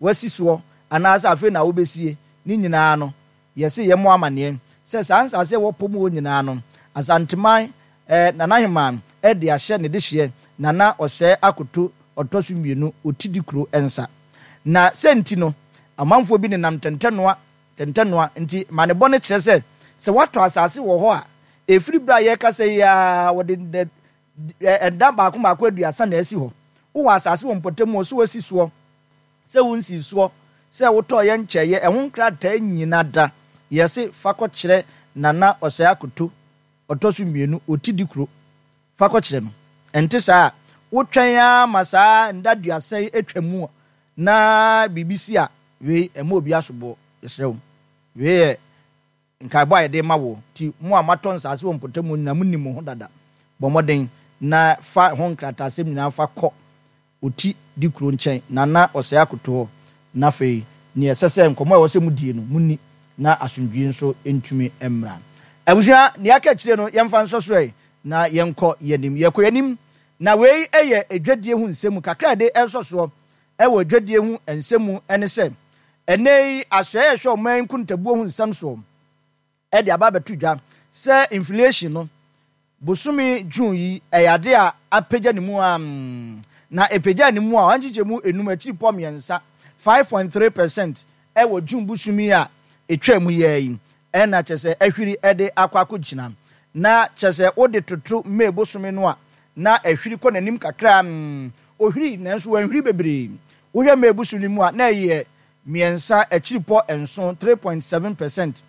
woasi soɔ anaasɛ afei na wobɛsie ne nyinaa no yɛse yɛmmɔ amaneɛ sɛ saa nsase a ɛwɔ pɔ mu hɔ nyinaa no Asanteman eh, Nana Heman de ahyɛ ne dehyeɛ Nana Ɔsɛe Akoto ɔtɔ so mmienu Otidikuro nsa. Na sɛ nti no amanfoɔ bi nenam ntɛntɛnoa ntɛntɛnoa nti ma ne bɔ no kyerɛ sɛ sɛ woatɔ asase wɔ hɔ a ɛfiri berɛ a yɛrekasa yi ara wɔde nnɛ ɛda baako baako aduasa na asi hɔ. Wowɔ asase wɔ mpɔtam hɔ sɛ woasi soɔ sɛ wonsii soɔ sɛ wotɔeɛ nkyɛeɛ ɛho nkrataa nyina da yɛse fa kɔkyerɛ Nana Ɔsɛe Akoto ɔtɔ so mmienu ɔti di kuro fa kɔkyerɛ no. Ɛnte saa a, wotwɛn ara ma saa nna aduasa yi atwa mu na biribi si a, wei ɛmmɔ obi asoboɔ. Yɛsrɛ wo. Wei yɛ nkaebɔ a yɛde rema wo. Nti mo a moatɔ nsase wɔ mpɔtam hɔ nyinaa, monim mo ho dada. Bɔ mmɔden na fa ho nkrataasɛm nyinaa fa kɔ Oti di kuro nkyɛn, Nana Ɔsɛe Akoto hɔ, na afei nea ɛsɛ sɛ nkɔmmɔ a ɛwɔ sɛ modie no, monni, na asomdwoeɛ nso ntumi mmra. Abusua, nea aka akyire no, yɛmfa nsɔ so ɛ, na yɛnkɔ yɛn anim. Yɛkɔ yɛn anim, na wei yɛ adwadie ho nsɛm mu kakra a yɛde resɔ soɔ wɔ adwadie ho nsɛm mu ne sɛ, ɛnnɛ yi asoɛeɛ a ɛhwɛ ɔman yi nkontabuo ho nsɛm soɔ de aba abɛto dwa sɛ inflation no bosome June yi ɛyɛ ade a apagya ne mu ara na ɛpagyaa ne mu a ɔha nkyekyɛmu enum akyiripɔ mmiɛnsa, five point three percent, wɔ June bosome a ɛtwaa mu yi ara yi na kyerɛ sɛ ahwiri de akɔ akɔgyina na kyerɛ sɛ wode toto May bosome no a na ahwiri kɔ n'anim kakra. Ɔhwiri nanso wanhwiri bebree. Wohwɛ May bosome no mu a, na ɛyɛ mmiɛnsa akyiripɔ nson, three point seven percent,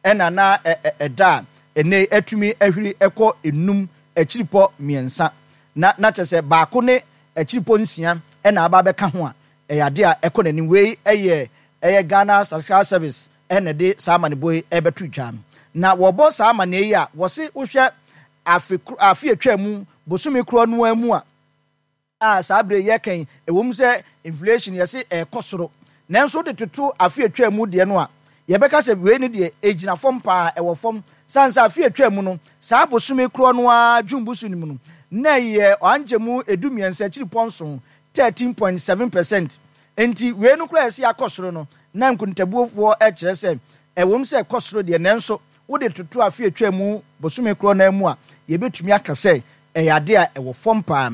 ɛna na ɛda a ɛnnɛ yi atumi ahwiri kɔ nnum akyiripɔ mmiɛnsa. Na na kyerɛ sɛ baako ne akyiripɔ nsia na aba abɛka ho a, ɛyɛ adeɛ a ɛkɔ n'anim. Wei yɛ ɛyɛ Ghana Statistical Service na ɛde saa amanebɔ yi rebɛto dwa. Na wɔbɔ saa amaneɛ yi a, wɔse wohwɛ afe koro afe a ɛtwaa mu bosome korɔ no ara mu a, a saa bere yi yɛreka yi, ɛwom sɛ inflation yɛse ɛrekɔ soro, nanso wode toto afe a ɛtwaa mu deɛ no a, yɛbɛka sɛ wei no deɛ ɛgyina fam paa, ɛwɔ fam. Sane sɛ afe a ɛtwaa mu no, saa bosome korɔ no ara, June bosome no mu no, na ɛyɛ ɔankyɛmu edu mmiɛnsa akyiripɔ nson, thirteen point seven percent. Enti wei no koraa a yɛse akɔ soro no, na nkontabuofoɔ kyerɛ sɛ ɛwom sɛ ɛkɔ soro deɛ, nanso wode toto afe a etwaa mu bosome korɔ no ara mu a, yɛbɛtumi aka sɛ ɛyɛ adeɛ a ɛwɔ fam pa ara.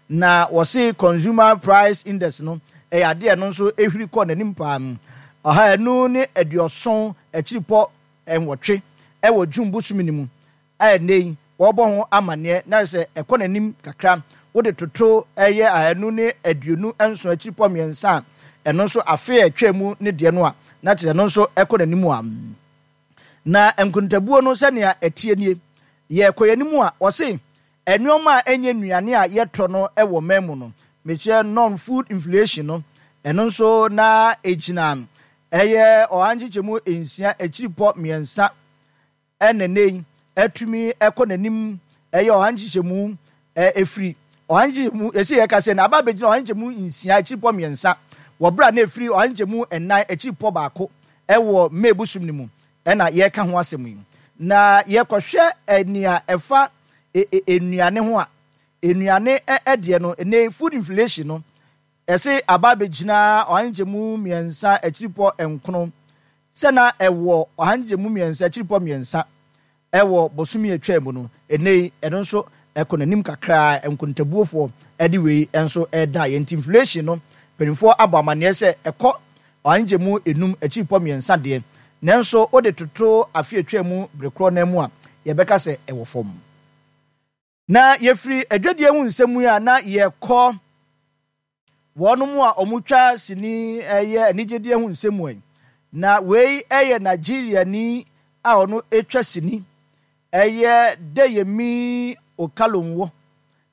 Na wɔse Consumer Price Index no, ɛyɛ adeɛ a ɛno nso ɛhwiri kɔɔ n'anim pa ara. Ɔha anu ne aduɔson akyiripɔ nwɔtwe wɔ June bosome no mu a ɛnnɛ yi wɔrebɔ ho amanneɛ, na kyerɛ sɛ ɛkɔ n'anim kakra. Wode toto ɛyɛ ahanu ne aduonu nson akyiripɔ mmiɛnsa a ɛno nso afe a ɛtwaa mu no deɛ no a, na kyerɛ sɛ ɛno nso ɛkɔ n'anim a. Na nkontabuo no sɛnea ɛteɛ nie, yɛrekɔ yɛn anim a, wɔse nneɛma a ɛnyɛ nnuane a yɛtɔ no wɔ man mu no, mekyerɛ non-food inflation no, ɛno nso na ɛgyina ɛyɛ ɔha nkyekyɛmu nsia akyiripɔ mmiɛnsa ɛna nnɛ yi atumi kɔ n'anim ɛyɛ ɔha nkyekyɛmu ɛfiri ɔha nkyekyɛmu ɛsɛ yɛka sɛ na aba abɛgyina ɔha nkyekyɛmu nsia akyiripɔ mmiɛnsa wɔ berɛ a na ɛfiri ɔha nkyekyɛmu nnan akyiripɔ baako ɛwɔ May bosom no mu ɛna yɛreka ho asɛm yi. Na yɛkɔhwɛ nea ɛfa nnuane ho a, nnuane ɛdeɛ no ɛnɛ food inflation no ɛse aba abɛgyina ɔha nkyekyɛmu mmiɛnsa akyiripɔ nkono sɛ na ɛwɔ ɔha nkyɛmu mmiɛnsa akyiripɔ mmiɛnsa wɔ bosome a ɛtwaa mu no, ɛnnɛ yi ɛno nso ɛkɔ n'anim kakra, nkontabuofoɔ de wei nso reda yɛn nti inflation no mpanimfoɔ abɔ amanneɛ sɛ ɛkɔ ɔha nkyɛmu enum akyiripɔ mmiɛnsa deɛ, nanso wode toto afe a ɛtwaa mu bere korɔ no ara mu a, yɛbɛka sɛ ɛwɔ fam. Na yɛfiri adwadie ho nsɛm yi a na yɛkɔ wɔnom a wɔtwa sini yɛ anigyedeɛ ho nsɛm mu yi. Na wei yɛ Nigeriani a ɔno twa sini ɛyɛ Deyemi Okalonwo.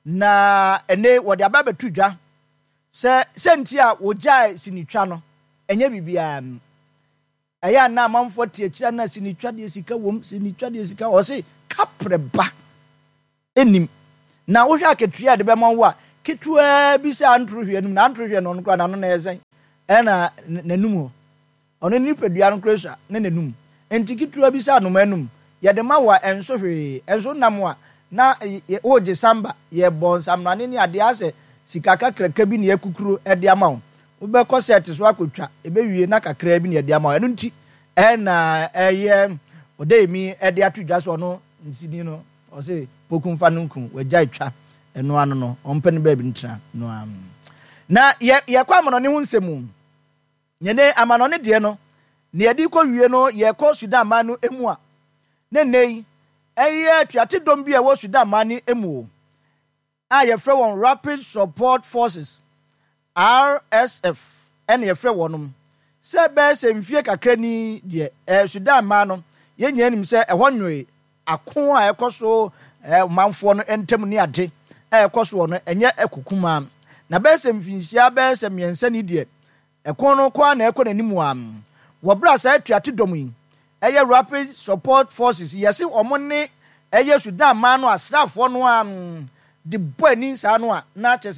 Na ɛnɛ wɔde aba abɛto dwa sɛ sɛnti a wɔgyae sinitwa no ɛnyɛ biribiara. Ɛyɛ a na amanfoɔ te akyire a na sinitwa deɛ sika wom, sinitwa deɛ sika wɔ. Ɔse kaprɛ ba nnim. Na wohwɛ akatua a yɛde bɛma wo a, ketewaa bi sɛ antoro hwɛ anum, na antoro hwɛ no ɔno koraa n'ano na ɛyɛ sɛn? Ɛna n'anum hɔ. Ɔno ne nipadua no koraa sua ne n'anum. Enti ketewa bi sɛ anoma anum, yɛde ma wo a ɛnso hwee. Ɛnso nam a na woregye samba, yɛbɔ nsamrane ne adeɛ asɛ sika kakraka bi na yɛakukuru de ama wo. Wobɛkɔ sɛɛte so akɔtwa, ɛbɛwie na kakraa bi na yɛde ama wo. Ɛno nti na ɛyɛ Ɔdɛyɛmi de ato dwa sɛ ɔno nsini no, ɔse Poku mfa no nku, wagyae twa, ɛno ano no, ɔmpɛ no baabi ntena no ara. Na yɛ yɛkɔ amanɔne ho nsɛm mu. Nyɛ amanɔne deɛ no, nea yɛde rekɔ wie no, yɛkɔ Sudan man no mu a, ne nnɛ yi, ɛyɛ atuate dɔm bi a ɛwɔ Sudan man no mu o, a yɛfrɛ wɔn Rapid Support Forces, R S F, ɛna yɛfrɛ wɔnom. Sɛ bɛyɛ sɛ mfie kakra ni deɛ, ɛɛ Sudan man no, yɛn nyinaa nim sɛ ɛhɔ nwoe, ako a ɛkɔ so ɛɛ ɔmanfoɔ no ntam ne ade a ɛkɔ soɔ no, ɛnyɛ ɛko kumaa. Na bɛyɛ sɛ mfinhyia bɛyɛ sɛ mmiɛnsa ni deɛ, ɛko no kɔ ara na ɛkɔ n'anim ara. Wɔ berɛ a saa atuate dɔm yi, ɛyɛ Rapid Support Forces yi, yɛse wɔn ne ɛyɛ Sudan man no asraafoɔ no ara de bɔ ani saa no a, na kyerɛ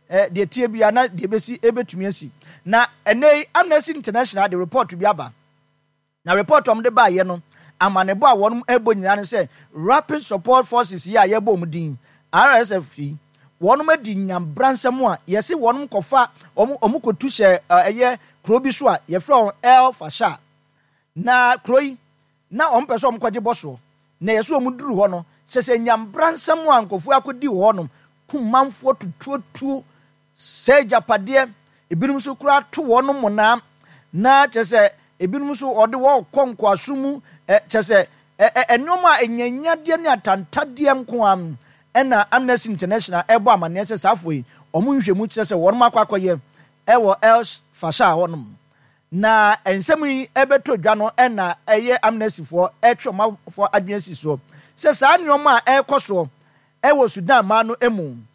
sɛ deɛ ɛteɛ biara na deɛ ɛbɛsi ɛbɛtumi asi. Na ɛnnɛ yi Amnesty International de report bi aba. Na report a wɔde baeɛ no, amanebɔ a wɔn rebɔ nyinaa ne sɛ Rapid Support Forces yi a yɛbɔ wɔn din, R S F yi, wɔn adi nyabransɛm a yɛse wɔn kɔfa, wɔn, wɔn kɔtu hyɛ ɛyɛ kuro bi so a yɛfrɛ wɔn El Fasher. Na kuro yi, na wɔn pɛ sɛ wɔn kɔgye bɔ soɔ. Na yɛse wɔn duru hɔ no, sɛ sɛ nyabransɛm a nkurɔfoɔ akɔdi wɔ hɔnom, kum manfoɔ tutuotuo, sɛe agyapadeɛ, ebinom nso koraa to wɔn mmonnaa, na kyerɛ sɛ ebinom nso wɔde wɔn kɔ nkoasom mu, ɛ kyerɛ sɛ ɛ ɛ nneɛma a anyanyadeɛ ne atantadeɛ nko ara ɛna Amnesty International ɛrebɔ amanneɛ sɛ saa afoɔ yi, wɔn nhwehwɛmu kyerɛ sɛ wɔn akɔ akɔyɛ wɔ El Fasher hɔnom. Na nsɛm yi bɛtɔ dwa no na ɛyɛ Amnestyfoɔ retwe ɔmanfoɔ adwene asi soɔ sɛ saa nneɛma a ɛrekɔ soɔ wɔ Sudan man no mu